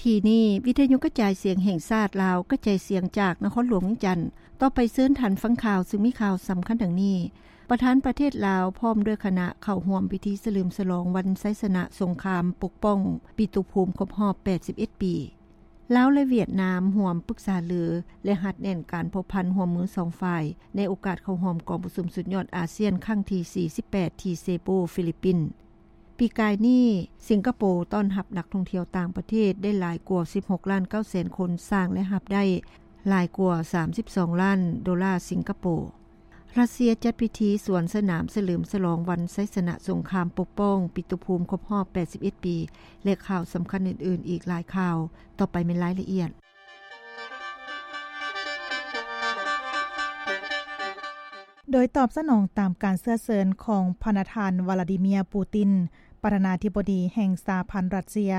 ທີ່ນີ້ ວິທະຍຸກະຈາຍສຽງແຫ່ງຊາດລາວ ກະຈາຍສຽງຈາກນະຄອນຫຼວງວຽງຈັນ. ຕໍ່ໄປເຊີນທ່ານຟັງຂ່າວ ຊຶ່ງມີຂ່າວສຳຄັນດັ່ງນີ້: ປະທານປະເທດລາວ ພ້ອມດ້ວຍຄະນະ ເຂົ້າຮ່ວມພິທີສະເຫຼີມສະຫຼອງວັນໄຊຊະນະສົງຄາມປົກປ້ອງປິຕຸພູມຄົບຮອບແປດສິບເອັດປີ. ລາວ ແລະ ຫວຽດນາມ ຮ່ວມປຶກສາລື ແລະ ຮັດແໜ້ນການພົວພັນຮ່ວມມືສອງຝ່າຍ ໃນໂອກາດເຂົ້າຮ່ວມກອງປະຊຸມສຸດຍອດອາຊຽນຄັ້ງທີສີ່ສິບແປດ ທີ່ເຊບູ ຟີລິບປິນ. ປີກາຍນີ້ ສິງກະໂປຕ້ອນຮັບນັກທ່ອງທ່ຽວຕ່າງປະເທດໄດ້ຫຼາຍກວ່າສິບຫົກລ້ານເກົ້າແສນຄົນ, ສ້າງລາຍຮັບໄດ້ຫຼາຍກວ່າສາມສິບສອງລ້ານໂດລາສິງກະໂປ. ຣັດເຊຍຈັດພິທີສວນສະໜາມສະເຫຼີມສະຫຼອງວັນໄຊຊະນະສົງຄາມປົກປ້ອງປິຕຸພູມຄົບຮອບແປດສິບເອັດປີ ແລະ ຂ່າວສຳຄັນອື່ນໆອີກຫຼາຍຂ່າວ. ຕໍ່ໄປແມ່ນລາຍລະອຽດ. ໂດຍຕອບສະໜອງຕາມການເຊື້ອເຊີນຂອງພະນະທ່ານ ວລາດີເມຍ ປູຕິນ ປະທານາທິບໍດີແຫ່ງສະຫະພັນຣັດເຊຍ,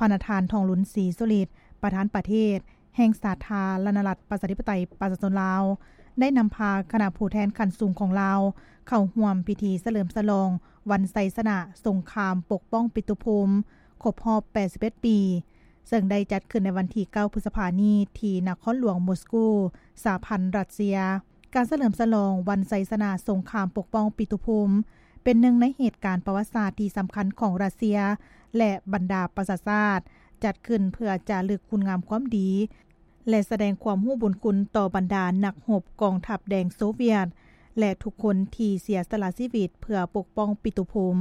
ພະນະທ່ານ ທອງລຸນ ສີສຸລິດ ປະທານປະເທດແຫ່ງສາທາລະນະລັດ ປະຊາທິປະໄຕ ປະຊາຊົນລາວ ໄດ້ນຳພາຄະນະຜູ້ແທນຂັ້ນສູງຂອງລາວ ເຂົ້າຮ່ວມພິທີສະເຫຼີມສະຫຼອງວັນໄຊຊະນະສົງຄາມປົກປ້ອງປິຕຸພູມຄົບຮອບແປດສິບເອັດປີ ເຊິ່ງໄດ້ຈັດຂຶ້ນໃນວັນທີເກົ້າ ພຶດສະພານີ້ ທີ່ນະຄອນຫຼວງມົສກູ ສະຫະພັນຣັດເຊຍ. ການສະເຫຼີມສະຫຼອງວັນໄຊຊະນະສົງຄາມປົກປ້ອງປິຕຸພູມ ເປັນໜຶ່ງໃນເຫດການປະຫວັດສາດທີ່ສຳຄັນຂອງຣັດເຊຍ ແລະ ບັນດາປະຊາຊາດ, ຈັດຂຶ້ນເພື່ອຈາລຶກຄຸນງາມຄວາມດີ ແລະ ສະແດງຄວາມຮູ້ບຸນຄຸນຕໍ່ບັນດານັກຮົບກອງທັບແດງໂຊວຽດ ແລະ ທຸກຄົນທີ່ເສຍສະຫຼະຊີວິດເພື່ອປົກປ້ອງປິຕຸພູມ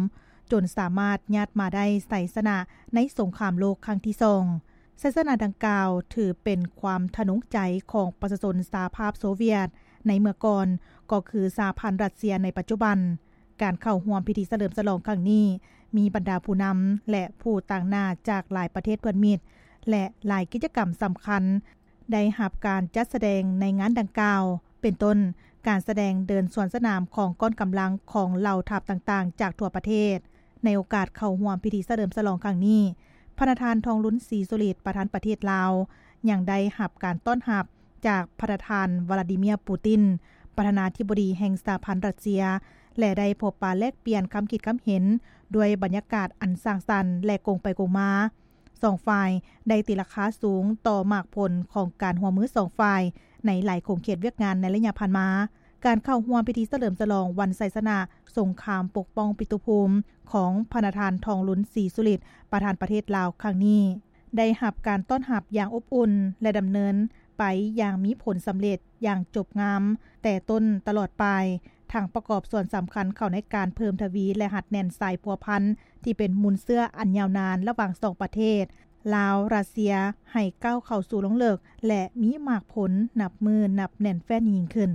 ຈົນສາມາດຍາດມາໄດ້ໄຊຊະນະໃນສົງຄາມໂລກຄັ້ງທີສອງ. ໄຊຊະນະດັ່ງກ່າວຖືເປັນຄວາມທະນົງໃຈຂອງປະຊາຊົນສະຫະພາບໂຊວຽດໃນເມື່ອກ່ອນ, ກໍຄືສະຫະພັນຣັດເຊຍໃນປັດຈຸບັນ. ການເຂົ້າຮ່ວມພິທີສະເຫຼີມສະຫຼອງຄັ້ງນີ້ ມີບັນດາຜູ້ນຳ ແລະ ຜູ້ຕາງໜ້າຈາກຫຼາຍປະເທດເພື່ອນມິດ ແລະ ຫຼາຍກິດຈະກຳສຳຄັນ ໄດ້ຮັບການຈັດສະແດງໃນງານດັ່ງກ່າວ ເປັນຕົ້ນ ການສະແດງເດີນສວນສະໜາມຂອງກ້ອນກຳລັງຂອງເຫຼົ່າທັບຕ່າງໆຈາກທົ່ວປະເທດ. ໃນໂອກາດເຂົ້າຮ່ວມພິທີສະເຫຼີມສະຫຼອງຄັ້ງນີ້, ພະນະທ່ານ ທອງລຸນ ສີສຸລິດ ປະທານປະເທດລາວ ຍັງໄດ້ຮັບການຕ້ອນຮັບຈາກພະນະທ່ານ ວລາດີເມຍ ປູຕິນ ປະທານາທິບໍດີແຫ່ງສະຫະພັນຣັດເຊຍ ແລະ ໄດ້ພົບປະແລກປ່ຽນຄຳຄິດຄຳເຫັນ ດ້ວຍບັນຍາກາດອັນສ້າງສັນ ແລະ ກົງໄປກົງມາ. ສອງຝ່າຍໄດ້ຕີລາຄາສູງຕໍ່ໝາກຜົນຂອງການຮ່ວມມືສອງຝ່າຍໃນຫຼາຍຂົງເຂດວຽກງານໃນໄລຍະຜ່ານມາ. ການເຂົ້າຮ່ວມພິທີສະເຫຼີມສະຫຼອງວັນໄຊຊະນະສົງຄາມປົກປ້ອງປິຕຸພູມຂອງພະນະທ່ານ ທອງລຸນ ສີສຸລິດ ປະທານປະເທດລາວຄັ້ງນີ້ ໄດ້ຮັບການຕ້ອນຮັບຢ່າງອົບອຸ່ນ ແລະ ດຳເນີນໄປຢ່າງມີຜົນສຳເລັດຢ່າງຈົບງາມ ແຕ່ຕົ້ນຕະຫຼອດປາຍ, ທັງປະກອບສ່ວນສຳຄັນເຂົ້າໃນການເພີ່ມທະວີ ແລະ ຮັດແໜ້ນສາຍພົວພັນທີ່ເປັນມູນເຊື້ອອັນຍາວນານລະຫວ່າງສອງປະເທດ ລາວ-ຣັດເຊຍ ໃຫ້ກ້າວເຂົ້າສູ່ລວງເລິກ ແລະ ມີໝາກຜົນນັບມື້ນັບແໜ້ນແຟ້ນຍິ່ງຂຶ້ນ.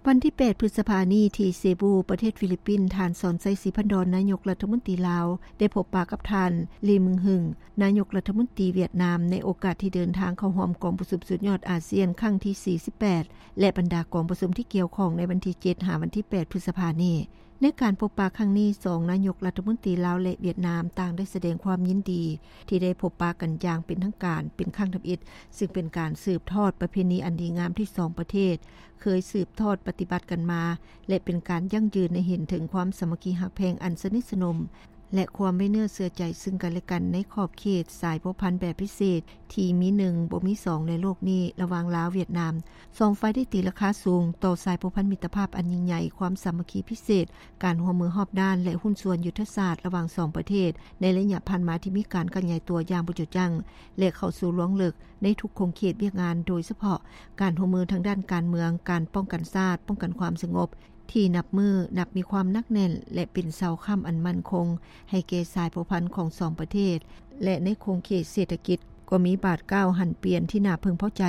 ວັນທີແປດ ພຶດສະພານີ້ ທີ່ເຊບູ ປະເທດຟີລິບປິນ, ທ່ານ ສອນໄຊ ສີພັນດອນ ນາຍົກລັດຖະມົນຕີລາວ ໄດ້ພົບປະກັບທ່ານ ລີ ມຶງຮຶງ ນາຍົກລັດຖະມົນຕີຫວຽດນາມ ໃນໂອກາດທີ່ເດີນທາງເຂົ້າຮ່ວມກອງປະຊຸມສຸດຍອດອາຊຽນຄັ້ງທີສີ່ສິບແປດ ແລະ ບັນດາກອງປະຊຸມທີ່ກ່ຽວຂ້ອງໃນວັນທີເຈັດ ຫາວັນທີແປດ ພຶດສະພານີ້. ໃນການພົບປະຄັ້ງນີ້, ສອງນາຍົກລັດຖະມົນຕີລາວ ແລະ ຫວຽດນາມ ຕ່າງໄດ້ສະແດງຄວາມຍິນດີທີ່ໄດ້ພົບປະກັນຢ່າງເປັນທາງການເປັນຄັ້ງທຳອິດ, ຊຶ່ງເປັນການສືບທອດປະເພນີອັນດີງາມທີ່ສອງປະເທດເຄີຍສືບທອດປະຕິບັດກັນມາ ແລະ ເປັນການຢັ້ງຢືນໃຫ້ເຫັນເຖິງຄວາມສາມັກຄີຮັກແພງອັນສະໜິດສະໜົມ ແລະ ຄວາມໄວ້ເນື້ອເຊື່ອໃຈຊຶ່ງກັນແລະກັນໃນຂອບເຂດສາຍພົວພັນແບບພິເສດທີ່ມີໜຶ່ງບໍ່ມີສອງໃນໂລກນີ້ ລະຫວ່າງລາວ-ຫວຽດນາມ. ສອງຝ່າຍໄດ້ຕີລາຄາສູງຕໍ່ສາຍພົວພັນມິດຕະພາບອັນຍິ່ງໃຫຍ່, ຄວາມສາມັກຄີພິເສດ, ການຮ່ວມມືຮອບດ້ານ ແລະ ຫຸ້ນສ່ວນຍຸດທະສາດລະຫວ່າງສອງປະເທດໃນໄລຍະຜ່ານມາທີ່ມີການຂະຫຍາຍຕົວຢ່າງບໍ່ຈຸຈັງ ແລະ ເຂົ້າສູ່ລວງເລິກໃນທຸກຂົງເຂດວຽກງານ, ໂດຍສະເພາະການຮ່ວມມືທາງດ້ານການເມືອງ, ການປ້ອງກັນຊາດ, ປ້ອງກັນຄວາມສະຫງົບ ທີ່ນັບມື້ນັບມີຄວາມໜັກແໜ້ນ ແລະ ເປັນເສົາຄ້ຳອັນໝັ້ນຄົງໃຫ້ແກ່ສາຍພົວພັນຂອງສອງປະເທດ ແລະ ໃນຂົງເຂດເສດຖະກິດກໍມີບາດກ້າວຫັນປ່ຽນທີ່ໜ້າເພິ່ງພໍໃຈ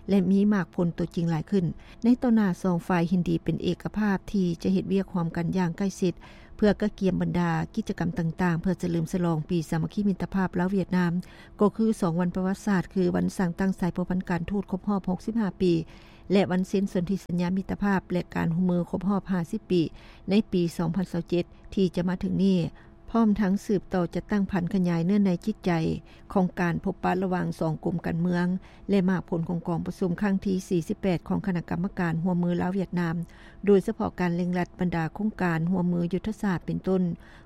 ແລະ ມີໝາກຜົນໂຕຈິງຫຼາຍຂຶ້ນ. ໃນຕໍ່ໜ້າ, ສອງຝ່າຍເຫັນດີເປັນເອກະພາບທີ່ຈະເຮັດວຽກຮ່ວມກັນຢ່າງໃກ້ຊິດ ເພື່ອກະກຽມບັນດາກິດຈະກຳຕ່າງໆ ເພື່ອສະເຫຼີມສະຫຼອງປີສາມັກຄີມິດຕະພາບລາວ-ຫວຽດນາມ, ກໍຄືສອງວັນປະຫວັດສາດ ຄືວັນສ້າງຕັ້ງສາຍພົວພັນການທູດຄົບຮອບຫົກສິບຫ້າປີ ແລະ ວັນເຊັນສົນທິສັນຍາມິດຕະພາບ ແລະ ການຮ່ວມມືຄົບຮອບຫ້າສິບປີ ໃນປີສອງພັນຊາວເຈັດ ທີ່ຈະມາເຖິງນີ້. ພ້ອມທັງສືບຕໍ່ຈັດຕັ້ງຜັນຂະຫຍາຍເນື້ອໃນຈິດໃຈຂອງການພົບປະລະຫວ່າງສອງກົມການເມືອງ ແລະ ໝາກຜົນຂອງກອງປະຊຸມຄັ້ງທີສີ່ສິບແປດ ຂອງຄະນະກຳມະການຮ່ວມມືລາວ-ຫວຽດນາມ, ໂດຍສະເພາະການເລັ່ງລັດບັນດາໂຄງການຮ່ວມມືຍຸດທະສາດ ເປັນຕົ້ນ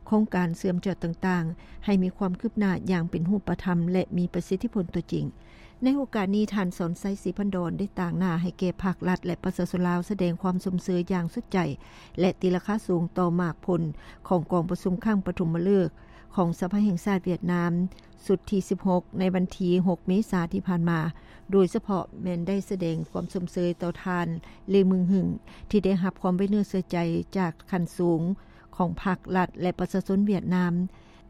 ໂຄງການເຊື່ອມຈອດຕ່າງໆ ໃຫ້ມີຄວາມຄືບໜ້າຢ່າງເປັນຮູບປະທຳ ແລະ ມີປະສິດທິຜົນຕົວຈິງ. ໃນໂອກາດນີ້, ທ່ານ ສອນໄຊ ສີພັນດອນ ໄດ້ຕາງໜ້າໃຫ້ແກ່ພັກລັດ ແລະ ປະຊາຊົນລາວ ສະແດງຄວາມຊົມເຊີຍຢ່າງສຸດໃຈ ແລະ ຕີລາຄາສູງຕໍ່ໝາກຜົນຂອງກອງປະຊຸມຄັ້ງປະຖົມມະເລີກຂອງສະພາແຫ່ງຊາດຫວຽດນາມ ຊຸດທີສິບຫົກ ໃນວັນທີຫົກ ເມສາທີ່ຜ່ານມາ, ໂດຍສະເພາະແມ່ນໄດ້ສະແດງຄວາມຊົມເຊີຍຕໍ່ທ່ານ ເລ ມຶງຫຶງ ທີ່ໄດ້ຮັບຄວາມໄວ້ເນື້ອເຊື່ອໃຈຈາກຂັ້ນສູງຂອງພັກລັດ ແລະ ປະຊາຊົນຫວຽດນາມ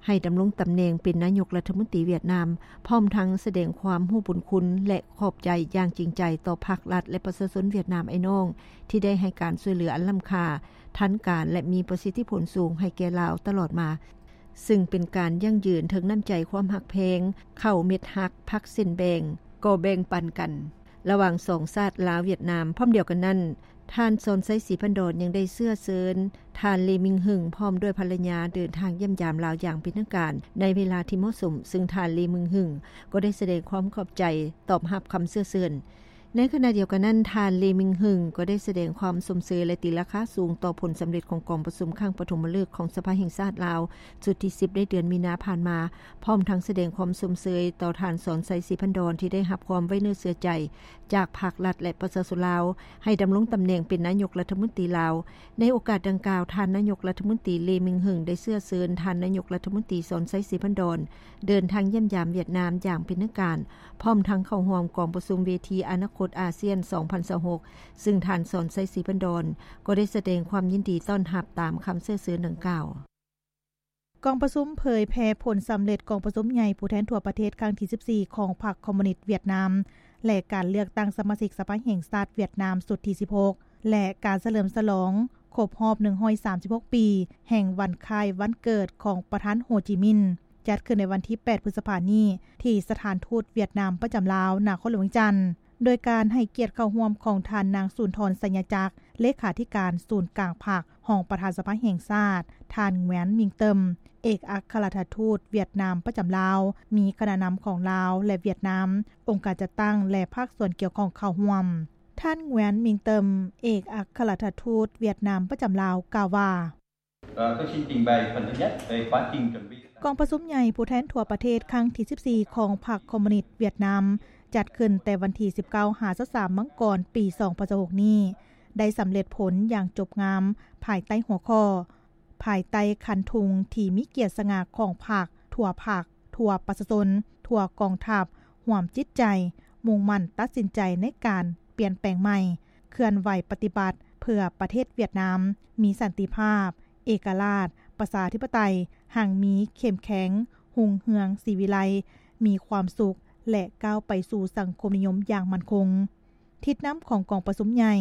ໃຫ້ດຳລົງຕຳແໜ່ງເປັນນາຍົກລັດຖະມົນຕີຫວຽດນາມ, ພ້ອມທັງສະແດງຄວາມຮູ້ບຸນຄຸນ ແລະ ຂອບໃຈຢ່າງຈິງໃຈຕໍ່ພັກລັດ ແລະ ປະຊາຊົນຫວຽດນາມອ້າຍນ້ອງ ທີ່ໄດ້ໃຫ້ການຊ່ວຍເຫຼືອອັນລ້ຳຄ່າ, ທັນການ ແລະ ມີປະສິດທິຜົນສູງໃຫ້ແກ່ລາວຕະຫຼອດມາ, ຊຶ່ງເປັນການຢັ້ງຢືນເຖິງນ້ຳໃຈຄວາມຮັກແພງ, ເຂົ້າເມັດຮັກ ຜັກເສັ້ນແບ່ງ ກໍແບ່ງປັນກັນ ລະຫວ່າງສອງຊາດລາວ-ຫວຽດນາມ. ພ້ອມດຽວກັນນັ້ນ, ທ່ານ ສອນໄຊ ສີພັນດອນ ຍັງໄດ້ເຊື້ອເຊີນທ່ານ ເລ ມິງຫຶງ ພ້ອມດ້ວຍພັນລະຍາເດີນທາງຢ້ຽມຢາມລາວຢ່າງເປັນທາງການໃນເວລາທີ່ເໝາະສົມ, ຊຶ່ງທ່ານ ເລ ມິງຫຶງ ກໍໄດ້ສະແດງຄວາມຂອບໃຈຕອບຮັບຄຳເຊື້ອເຊີນ. ໃນຂະນະດຽວກັນນັ້ນ, ທ່ານ ເລ ມິງຫຶງ ກໍໄດ້ສະແດງຄວາມຊົມເຊີຍ ແລະ ຕີລາຄາສູງຕໍ່ຜົນສຳເລັດຂອງກອງປະຊຸມຄັ້ງປະຖົມມະເລີກຂອງສະພາແຫ່ງຊາດລາວ ຊຸດທີສິບ ໃນເດືອນມີນາຜ່ານມາ, ພ້ອມທັງສະແດງຄວາມຊົມເຊີຍຕໍ່ທ່ານ ສອນໄຊ ສີພັນດອນ ທີ່ໄດ້ຮັບຄວາມໄວ້ເນື້ອເຊື່ອໃຈຈາກພັກລັດ ແລະ ປະຊາຊົນລາວ ໃຫ້ດຳລົງຕຳແໜ່ງເປັນນາຍົກລັດຖະມົນຕີລາວ. ໃນໂອກາດດັ່ງກ່າວ, ທ່ານນາຍົກລັດຖະມົນຕີ ເລ ມິງຫຶງ ໄດ້ເຊື້ອເຊີນທ່ານນາຍົກລັດຖະມົນຕີ ສອນໄຊ ສີພັນດອນ ເດີນທາງຢ້ຽມຢາມຫວຽດນາມຢ່າງເປັນທາງການ, ພ້ອມທັງເຂົ້າຮ່ວມກອງປະຊຸມເວທີອະນາຄົດອາຊຽນ ສອງພັນຊາວຫົກ ຊຶ່ງທ່ານ ສອນໄຊ ສີພັນດອນ ກໍໄດ້ສະແດງຄວາມຍິນດີຕ້ອນຮັບຕາມຄຳເຊື້ອເຊີນດັ່ງກ່າວ. ກອງປະຊຸມເຜີຍແຜ່ຜົນສຳເລັດກອງປະຊຸມໃຫຍ່ຜູ້ແທນທົ່ວປະເທດຄັ້ງທີສິບສີ່ ຂອງພັກຄອມມູນິດຫວຽດນາມ ແລະ ການເລືອກຕັ້ງສະມາຊິກສະພາແຫ່ງຊາດຫວຽດນາມຊຸດທີສິບຫົກ ແລະ ການສະເຫຼີມສະຫຼອງຄົບຮອບໜຶ່ງຮ້ອຍສາມສິບຫົກປີ ແຫ່ງວັນຄ້າຍວັນເກີດຂອງປະທານໂຮຈິມິນ ຈັດຂຶ້ນໃນວັນທີແປດ ພຶດສະພານີ້ ທີ່ສະຖານທູດຫວຽດນາມປະຈຳລາວ ນະຄອນຫຼວງວຽງຈັນ, ໂດຍການໃຫ້ກຽດເຂົ້າຮ່ວມຂອງທ່ານນາງ ສຸນທອນ ໄຊຍະຈັກ ເລຂາທິການສູນກາງພັກ, ຮອງປະທານສະພາແຫ່ງຊາດ, ທ່ານ ແງວນ ມິງເຕີມ ເອກອັກຄະລັດຖະທູດຫວຽດນາມປະຈຳລາວ, ມີຄະນະນຳຂອງລາວ ແລະ ຫວຽດນາມ, ອົງການຈັດຕັ້ງ ແລະ ພາກສ່ວນກ່ຽວຂ້ອງເຂົ້າຮ່ວມ. ທ່ານ ແງວນ ມິງເຕີມ ເອກອັກຄະລັດຖະທູດຫວຽດນາມປະຈຳລາວ ກ່າວວ່າ: ເອີ ກໍຊິຕິງໄບພັນທະຍັດໄດ້ປະຕິງຈົນວິ ກອງປະຊຸມໃຫຍ່ຜູ້ແທນທົ່ວປະເທດຄັ້ງທີສິບສີ່ ຂອງພັກຄອມມູນິດຫວຽດນາມ ຈັດຂຶ້ນແຕ່ວັນທີສິບເກົ້າ ຫາ ຊາວສາມ ມັງກອນ ປີສອງພັນຊາວຫົກນີ້ ໄດ້ສຳເລັດຜົນຢ່າງຈົບງາມ ພາຍໃຕ້ຫົວຂໍ້ ພາຍໃຕ້ຄັນທຸງທີ່ມີກຽດສະຫງ່າຂອງພັກ, ທົ່ວພັກ, ທົ່ວປະຊາຊົນ, ທົ່ວກອງທັບ, ຮ່ວມຈິດໃຈ, ມຸ່ງໝັ້ນຕັດສິນໃຈໃນການປ່ຽນແປງໃໝ່, ເຄື່ອນໄຫວປະຕິບັດເພື່ອປະເທດຫວຽດນາມ ມີສັນຕິພາບ, ເອກະລາດ, ປະຊາທິປະໄຕ, ຮັ່ງມີ, ເຂັ້ມແຂງ, ຮຸ່ງເຮືອງ, ສີວິໄລ, ມີຄວາມສຸກ ແລະ ກ້າວໄປສູ່ສັງຄົມນິຍົມຢ່າງໝັ້ນຄົງ. ທິດນຳຂອງກອງປະຊຸມໃຫຍ່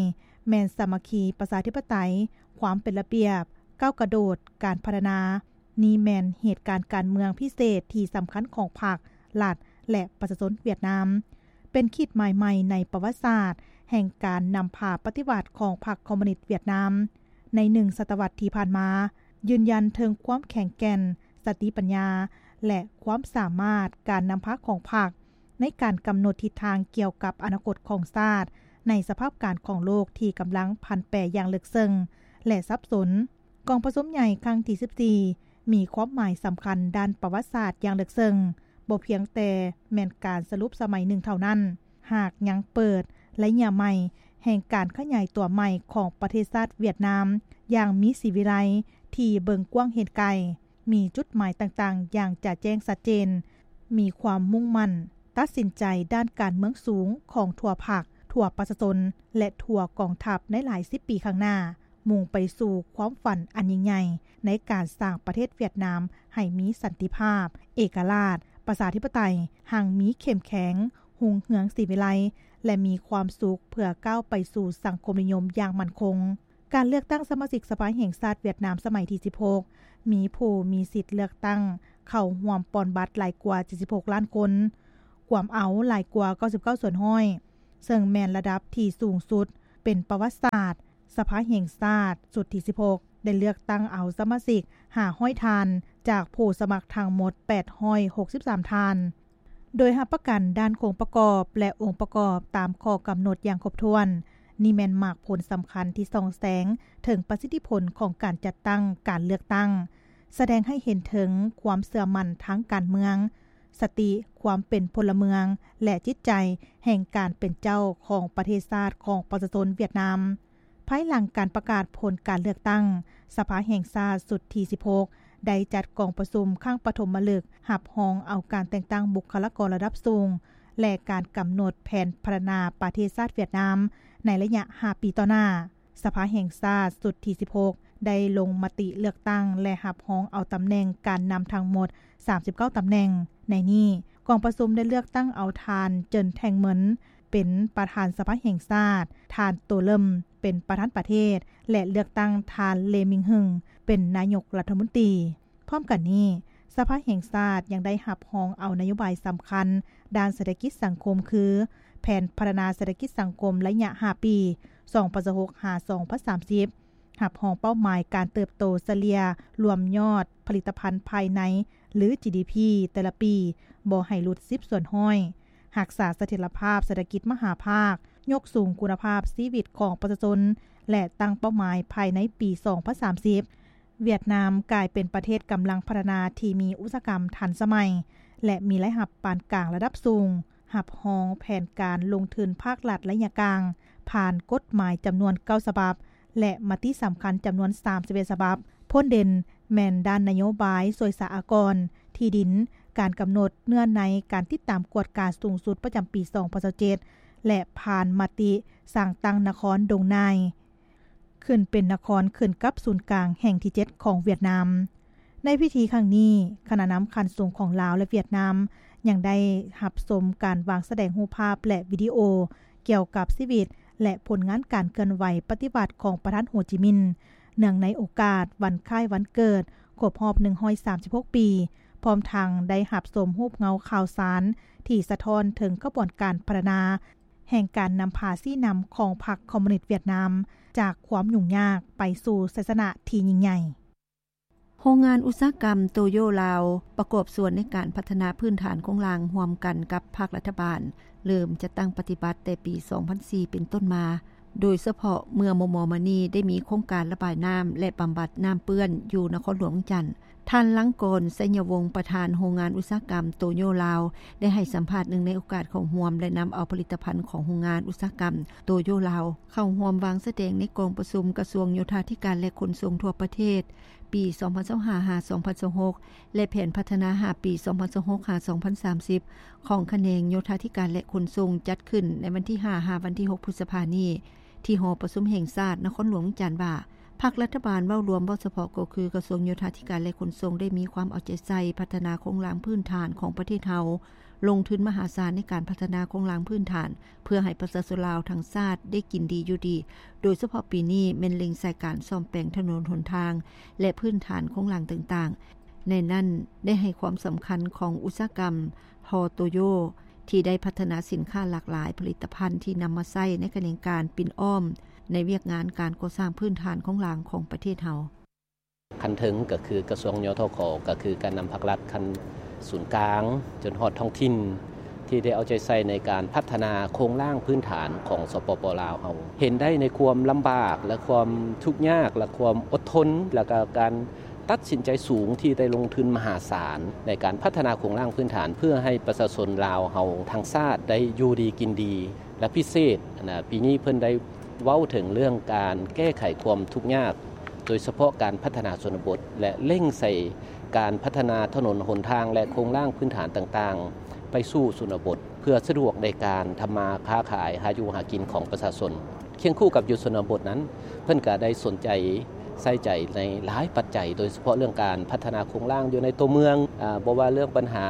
ແມ່ນສາມັກຄີ, ປະຊາທິປະໄຕ, ຄວາມເປັນລະບຽບ, ກ້າວກະໂດດ, ການພັດທະນາ. ນີ້ແມ່ນເຫດການການເມືອງພິເສດທີ່ສຳຄັນຂອງພັກ, ລັດ ແລະ ປະຊາຊົນຫວຽດນາມ, ເປັນຂີດໝາຍໃໝ່ໃນປະຫວັດສາດແຫ່ງການນຳພາປະຕິວັດຂອງພັກຄອມມູນິດຫວຽດນາມໃນໜຶ່ງສະຕະວັດທີ່ຜ່ານມາ, ຢືນຢັນເຖິງຄວາມແຂງແກ່ນ, ສະຕິປັນຍາ ແລະ ຄວາມສາມາດການນຳພາຂອງພັກ ໃນການກຳນົດທິດທາງກ່ຽວກັບອະນາຄົດຂອງຊາດ ໃນສະພາບການຂອງໂລກທີ່ກຳລັງຜັນແປຢ່າງເລິກເຊິ່ງ ແລະ ສັບສົນ. ກອງປະຊຸມໃຫຍ່ຄັ້ງທີສິບສີ່ ມີຄວາມໝາຍສຳຄັນດ້ານປະຫວັດສາດຢ່າງເລິກເຊິ່ງ, ບໍ່ພຽງແຕ່ແມ່ນການສະຫຼຸບສະໄໝໜຶ່ງເທົ່ານັ້ນ, ຫາກຍັງເປີດໄລຍະໃໝ່ແຫ່ງການຂະຫຍາຍຕົວໃໝ່ຂອງປະເທດຊາດຫວຽດນາມຢ່າງມີສີວິໄລ ທີ່ເບິ່ງກວ້າງເຫັນໄກ. ມີຈຸດໝາຍຕ່າງໆຢ່າງຈະແຈ້ງຊັດເຈນ, ມີຄວາມມຸ່ງໝັ້ນຕັດສິນໃຈດ້ານການເມືອງສູງຂອງທົ່ວພັກ, ທົ່ວປະຊາຊົນ ແລະ ທົ່ວກອງທັບໃນຫຼາຍສິບປີຂ້າງໜ້າ, ມຸ່ງໄປສູ່ຄວາມຝັນອັນຍິ່ງໃຫຍ່ໃນການສ້າງປະເທດຫວຽດນາມໃຫ້ມີສັນຕິພາບ, ເອກະລາດ, ປະຊາທິປະໄຕ, ຮັ່ງມີ, ເຂັ້ມແຂງ, ຮຸ່ງເຮືອງ, ສີວິໄລ ແລະ ມີຄວາມສຸກ ເພື່ອກ້າວໄປສູ່ສັງຄົມນິຍົມຢ່າງໝັ້ນຄົງ. ການເລືອກຕັ້ງສະມາຊິກສະພາແຫ່ງຊາດຫວຽດນາມສະໄໝທີສິບຫົກ ມີຜູ້ມີສິດເລືອກຕັ້ງເຂົ້າຮ່ວມປ່ອນບັດຫຼາຍກວ່າເຈັດສິບຫົກລ້ານຄົນ, ກວມເອົາຫຼາຍກວ່າເກົ້າສິບເກົ້າສ່ວນຮ້ອຍ ເຊິ່ງແມ່ນລະດັບທີ່ສູງສຸດເປັນປະຫວັດສາດສະພາແຫ່ງຊາດຊຸດທີສິບຫົກ. ໄດ້ເລືອກຕັ້ງເອົາສະມາຊິກຫ້າຮ້ອຍທ່ານ ຈາກຜູ້ສະໝັກທັງໝົດແປດຮ້ອຍຫົກສິບສາມທ່ານ. ໂດຍຮັບປະກັນດ້ານໂຄງປະກອບ ແລະ ອົງປະກອບຕາມຂໍ້ກຳນົດຢ່າງຄົບຖ້ວນ. ນີ້ແມ່ນໝາກຜົນສຳຄັນທີ່ສ່ອງແສງເຖິງປະສິດທິຜົນຂອງການຈັດຕັ້ງການເລືອກຕັ້ງ, ສະແດງໃຫ້ເຫັນເຖິງຄວາມເຊື່ອໝັ້ນທາງການເມືອງ, ສະຕິຄວາມເປັນພົນລະເມືອງ ແລະ ຈິດໃຈແຫ່ງການເປັນເຈົ້າຂອງປະເທດຊາດຂອງປະຊາຊົນຫວຽດນາມ. ພາຍຫຼັງການປະກາດຜົນການເລືອກຕັ້ງ, ສະພາແຫ່ງຊາດຊຸດທີສິບຫົກ ໄດ້ຈັດກອງປະຊຸມຄັ້ງປະຖົມມະລຶກ ຮັບຮອງເອົາການແຕ່ງຕັ້ງບຸກຄະລາກອນລະດັບສູງ ແລະ ການກຳນົດແຜນພັດທະນາປະເທດຊາດຫວຽດນາມໃນໄລຍະຫ້າປີຕໍ່ໜ້າ. ສະພາແຫ່ງຊາດຊຸດທີສິບຫົກ ໄດ້ລົງມະຕິເລືອກຕັ້ງ ແລະ ຮັບຮອງເອົາຕຳແໜ່ງການນຳທັງໝົດສາມສິບເກົ້າຕຳແໜ່ງ. ໃນນີ້, ກອງປະຊຸມໄດ້ເລືອກຕັ້ງເອົາທ່ານ ເຈີນ ແທງເມິນ ເປັນປະທານສະພາແຫ່ງຊາດ, ທ່ານ ໂຕເລິມ ເປັນປະທານປະເທດ ແລະ ເລືອກຕັ້ງທ່ານ ເລ ມິງຮຶງ ເປັນນາຍົກລັດຖະມົນຕີ. ພ້ອມກັນນີ້, ສະພາແຫ່ງຊາດຍັງໄດ້ຮັບຮອງເອົານະໂຍບາຍສຳຄັນດ້ານເສດຖະກິດສັງຄົມ ຄື ແຜນພັດທະນາເສດຖະກິດສັງຄົມໄລຍະຫ້າປີ ສອງພັນຊາວຫົກ ຫາ ສອງພັນສາມສິບ, ຮັບຮອງເປົ້າໝາຍການເຕີບໂຕສະເລ່ຍລວມຍອດຜະລິດຕະພັນພາຍໃນ ຫຼື ຈີດີພີ ແຕ່ລະປີບໍ່ໃຫ້ຫຼຸດສິບສ່ວນຮ້ອຍ, ຮັກສາສະຖຽນລະພາບເສດຖະກິດມະຫາພາກ, ຍົກສູງຄຸນນະພາບຊີວິດຂອງປະຊາຊົນ ແລະ ຕັ້ງເປົ້າໝາຍພາຍໃນປີສອງພັນສາມສິບ ຫວຽດນາມກາຍເປັນປະເທດກຳລັງພັດທະນາທີ່ມີອຸດສາຫະກຳທັນສະໄໝ ແລະ ມີລາຍຮັບປານກາງລະດັບສູງ, ຮັບຮອງແຜນການລົງທຶນພາກລັດໄລຍະກາງ ຜ່ານກົດໝາຍຈຳນວນເກົ້າສະບັບ ແລະ ມະຕິສຳຄັນຈຳນວນສາມສິບເອັດສະບັບ. ໂພດເດັ່ນແມ່ນດ້ານນະໂຍບາຍສ່ວຍສາອາກອນ, ທີ່ດິນ, ການກຳນົດເນື້ອໃນການຕິດຕາມກວດກາສູງສຸດປະຈຳປີສອງພັນຊາວເຈັດ ແລະ ຜ່ານມະຕິສ້າງຕັ້ງນະຄອນດົງນາຍ ຂຶ້ນເປັນນະຄອນຂຶ້ນກັບສູນກາງແຫ່ງທີເຈັດຂອງຫວຽດນາມ. ໃນພິທີຄັ້ງນີ້, ຄະນະນຳຂັ້ນສູງຂອງລາວ ແລະ ຫວຽດນາມ ຍັງໄດ້ຮັບຊົມການວາງສະແດງຮູບພາບ ແລະ ວິດີໂອກ່ຽວກັບຊີວິດ ແລະ ຜົນງານການເຄື່ອນໄຫວປະຕິວັດຂອງປະທານໂຮຈິມິນ ເນື່ອງໃນໂອກາດວັນຄ້າຍວັນເກີດຄົບຮອບໜຶ່ງຮ້ອຍສາມສິບຫົກປີ, ພ້ອມທັງໄດ້ຮັບຊົມຮູບເງົາຂ່າວສານທີ່ສະທ້ອນເຖິງຂະບວນການພັດທະນາ ແຫ່ງການນຳພາຊີ້ນຳຂອງພັກຄອມມູນິດຫວຽດນາມ ຈາກຄວາມຫຍຸ້ງຍາກໄປສູ່ໄຊຊະນະທີ່ຍິ່ງໃຫຍ່. ໂຮງງານອຸດສາຫະກຳໂຕໂຢລາວ ປະກອບສ່ວນໃນການພັດທະນາພື້ນຖານໂຄງລ່າງຮ່ວມກັນກັບພາກລັດຖະບານ ເລີ່ມຈັດຕັ້ງປະຕິບັດແຕ່ປີສອງພັນສີ່ເປັນຕົ້ນມາ, ໂດຍສະເພາະເມື່ອມໍ່ໆມານີ້ໄດ້ມີໂຄງການລະບາຍນ້ຳ ແລະ ບຳບັດນ້ຳເປື້ອນຢູ່ນະຄອນຫຼວງວຽງຈັນ. ທ່ານ ລັງກອນ ໄຊຍະວົງ ປະທານໂຮງງານອຸດສາຫະກຳໂຕໂຢລາວ ໄດ້ໃຫ້ສຳພາດເນື່ອງໃນໂອກາດເຂົ້າຮ່ວມ ແລະ ນຳເອົາຜະລິດຕະພັນຂອງໂຮງງານອຸດສາຫະກຳໂຕໂຢລາວ ເຂົ້າຮ່ວມວາງສະແດງໃນກອງປະຊຸມກະຊວງໂຍທາທິການ ແລະ ຂົນສົ່ງທົ່ວປະເທດ ປີສອງພັນຊາວຫ້າ ຫາ ສອງພັນຊາວຫົກ ແລະ ແຜນພັດທະນາຫ້າປີ ສອງພັນຊາວຫົກ ຫາ ສອງພັນສາມສິບ ຂອງຂະແໜງໂຍທາທິການ ແລະ ຂົນສົ່ງ ຈັດຂຶ້ນໃນວັນທີຫ້າ ຫາ ວັນທີຫົກ ພຶດສະພານີ້ ທີ່ຫໍປະຊຸມແຫ່ງຊາດນະຄອນຫຼວງວຽງຈັນວ່າ ພາກລັດຖະບານເວົ້າລວມ, ເວົ້າສະເພາະກໍຄືກະຊວງໂຍທາທິການ ແລະ ຂົນສົ່ງ ໄດ້ມີຄວາມເອົາໃຈໃສ່ພັດທະນາໂຄງລ່າງພື້ນຖານຂອງປະເທດເຮົາ, ລົງທຶນມະຫາສານໃນການພັດທະນາໂຄງລ່າງພື້ນຖານ ເພື່ອໃຫ້ປະຊາຊົນລາວທັງຊາດໄດ້ກິນດີຢູ່ດີ, ໂດຍສະເພາະປີນີ້ແມ່ນເລັ່ງໃສ່ການສ້ອມແປງຖະໜົນຫົນທາງ ແລະ ພື້ນຖານໂຄງລ່າງຕ່າງໆ. ໃນນັ້ນໄດ້ໃຫ້ຄວາມສຳຄັນຂອງອຸດສາຫະກຳ ທໍ່ໂຕໂຢ ທີ່ໄດ້ພັດທະນາສິນຄ້າຫຼາກຫຼາຍຜະລິດຕະພັນທີ່ນຳມາໃຊ້ໃນຂະແໜງການປິ່ນອ້ອມໃນວຽກງານການກໍ່ສ້າງພື້ນຖານໂຄງລ່າງຂອງປະເທດເຮົາ. ຂັ້ນເທິງກໍຄືກະຊວງ ຍທຂ ກໍຄືການນຳພາກລັດຂັ້ນສູນກາງ ຈົນຮອດທ້ອງຖິ່ນ ທີ່ໄດ້ເອົາໃຈໃສ່ໃນການພັດທະນາໂຄງລ່າງພື້ນຖານຂອງ ສປປ ລາວເຮົາ ເຫັນໄດ້ໃນຄວາມລຳບາກ ແລະ ຄວາມທຸກຍາກ ແລະ ຄວາມອົດທົນ ແລະ ກະການ ຕັດສິນໃຈສູງທີ່ໄດ້ລົງທຶນມະຫາສານໃນການພັດທະນາໂຄງລ່າງພື້ນຖານ ເພື່ອໃຫ້ປະຊາຊົນລາວເຮົາທັງຊາດໄດ້ຢູ່ດີກິນດີ ແລະ ພິເສດນະ ປີນີ້ເພິ່ນໄດ້ເວົ້າເຖິງເລື່ອງການແກ້ໄຂຄວາມທຸກຍາກ ໂດຍສະເພາະການພັດທະນາຊົນນະບົດ ແລະ ເລັ່ງໃສ່ການພັດທະນາຖະໜົນຫົນທາງ ແລະ ໂຄງລ່າງພື້ນຖານຕ່າງໆ ໄປສູ່ຊົນນະບົດ ເພື່ອສະດວກໃນການທຳມາຄ້າຂາຍ ຫາຢູ່ຫາກິນຂອງປະຊາຊົນ. ຄຽງຄູ່ກັບຢູ່ຊົນນະບົດນັ້ນ ເພິ່ນກະໄດ້ສົນໃຈໃສ່ໃຈໃນຫຼາຍປັດໄຈ ໂດຍສະເພາະເລື່ອງການພັດທະນາໂຄງລ່າງຢູ່ໃນຕົວເມືອງ, ອາ, ບໍ່ວ່າເລື່ອງບັນຫາ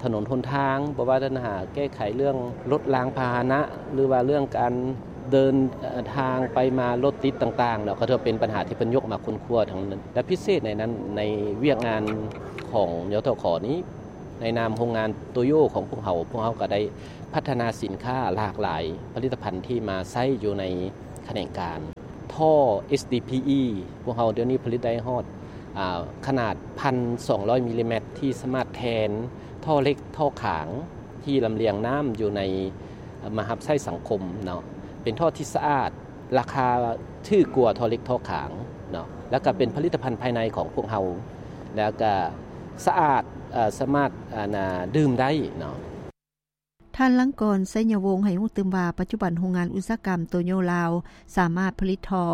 ຖະໜົນຫົນທາງ, ບໍ່ວ່າບັນຫາແກ້ໄຂເລື່ອງລົດລາງພາຫະນະ ຫຼືວ່າເລື່ອງການເດີນ, ເອີ, ທາງໄປມາລົດຕິດຕ່າງໆເນາະ, ກໍຖືວ່າເປັນບັນຫາທີ່ເພິ່ນຍົກມາຄົ້ນຄວ້າທັງນັ້ນ. ແລະ ພິເສດໃນນັ້ນ, ໃນວຽກງານຂອງ ຍທຂ ນີ້, ໃນນາມໂຮງງານໂຕໂຢຂອງພວກເຮົາ, ພວກເຮົາກໍໄດ້ ພັດທະນາສິນຄ້າຫຼາກຫຼາຍຜະລິດຕະພັນທີ່ມາໃຊ້ຢູ່ໃນຂະແໜງການ. ໂທ ທໍ່ SDPE ພວກເຮົາດຽວນີ້ຜະລິດໄດ້ຮອດ ອາ ຂະໜາດ ໜຶ່ງພັນສອງຮ້ອຍ ມິລລີແມັດ ທີ່ສາມາດແທນທໍ່ເຫຼັກທໍ່ຂາງທີ່ລຳລຽງນ້ຳຢູ່ໃນມາຮັບໃຊ້ສັງຄົມເນາະ ເປັນທໍ່ທີ່ສະອາດ ລາຄາຖືກກວ່າທໍ່ເຫຼັກທໍ່ຂາງເນາະ ແລ້ວກໍເປັນຜະລິດຕະພັນພາຍໃນຂອງພວກເຮົາ ແລ້ວກໍສະອາດ ເອີ ສາມາດ ອັນນ່າ ດື່ມໄດ້ເນາະ. ທ່ານ ລັງກອນ ໄຊຍະວົງ ໃຫ້ຮູ້ຕື່ມວ່າ ປັດຈຸບັນໂຮງງານອຸດສາຫະກຳໂຕໂຍລາວ ສາມາດຜະລິດທໍ່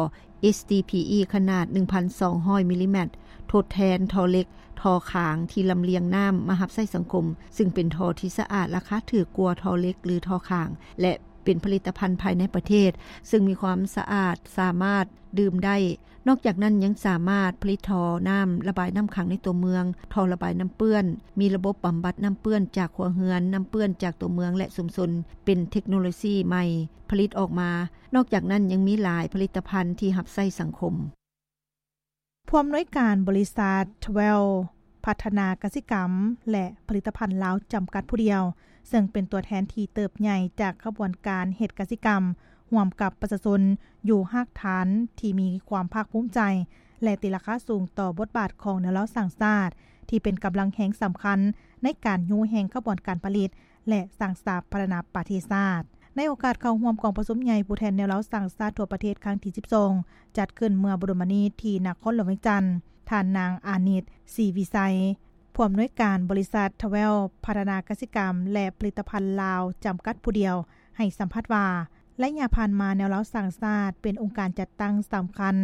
SDPE ຂະໜາດ ໜຶ່ງພັນສອງຮ້ອຍ ມິລລີແມັດ ທົດແທນທໍ່ເຫຼັກ, ທໍ່ຂາງທີ່ລຳລຽງນ້ຳມາຮັບໃຊ້ສັງຄົມ, ຊຶ່ງເປັນທໍ່ທີ່ສະອາດ, ລາຄາຖືກກວ່າທໍ່ເຫຼັກ ຫຼື ທໍ່ຂາງ ແລະ ເປັນຜະລິດຕະພັນພາຍໃນປະເທດ, ຊຶ່ງມີຄວາມສະອາດ, ສາມາດດື່ມໄດ້. ນອກຈາກນັ້ນຍັງສາມາດຜະລິດທໍ່ນ້ຳລະບາຍນ້ຳຂັງໃນຕົວເມືອງ, ທໍ່ລະບາຍນ້ຳເປື້ອນ, ມີລະບົບບຳບັດນ້ຳເປື້ອນຈາກຄົວເຮືອນ, ນ້ຳເປື້ອນຈາກຕົວເມືອງ ແລະ ຊຸມຊົນ, ເປັນເທັກໂນໂລຊີໃໝ່ຜະລິດອອກມາ. ນອກຈາກນັ້ນຍັງມີຫຼາຍຜະລິດຕະພັນທີ່ຮັບໃຊ້ສັງຄົມ. ຜູ້ອຳນວຍການບໍລິສັດ Twelve ພັດທະນາກະສິກຳ ແລະ ຜະລິດຕະພັນລາວ ຈຳກັດຜູ້ດຽວ, ເຊິ່ງເປັນຕົວແທນທີ່ເຕີບໃຫຍ່ຈາກຂະບວນການເຮັດກະສິກຳ ຮ່ວມກັບປະຊາຊົນຢູ່ຮາກຖານທີ່ມີຄວາມພາກພູມໃຈ ແລະ ຕີລາຄາສູງຕໍ່ບົດບາດຂອງແນວລາວສ້າງຊາດ ທີ່ເປັນກຳລັງແຮງສຳຄັນໃນການຍູ້ແຮງຂະບວນການຜະລິດ ແລະ ສ້າງສາພັດທະນາປະເທດຊາດ. ໃນໂອກາດເຂົ້າຮ່ວມກອງປະຊຸມໃຫຍ່ຜູ້ແທນແນວລາວສ້າງຊາດທົ່ວປະເທດຄັ້ງທີສິບສອງ ຈັດຂຶ້ນເມື່ອບໍ່ດົນມານີ້ທີ່ນະຄອນຫຼວງວຽງຈັນ, ທ່ານນາງ ອານິດ ສີວິໄຊ ຜູ້ອຳນວຍການບໍລິສັດ Twelve ພັດທະນາກະສິກຳ ແລະ ຜະລິດຕະພັນລາວ ຈຳກັດຜູ້ດຽວ ໃຫ້ສຳພາດວ່າ ໄລຍະຜ່ານມາແນວລາວສ້າງຊາດເປັນອົງການຈັດຕັ້ງສຳຄັນ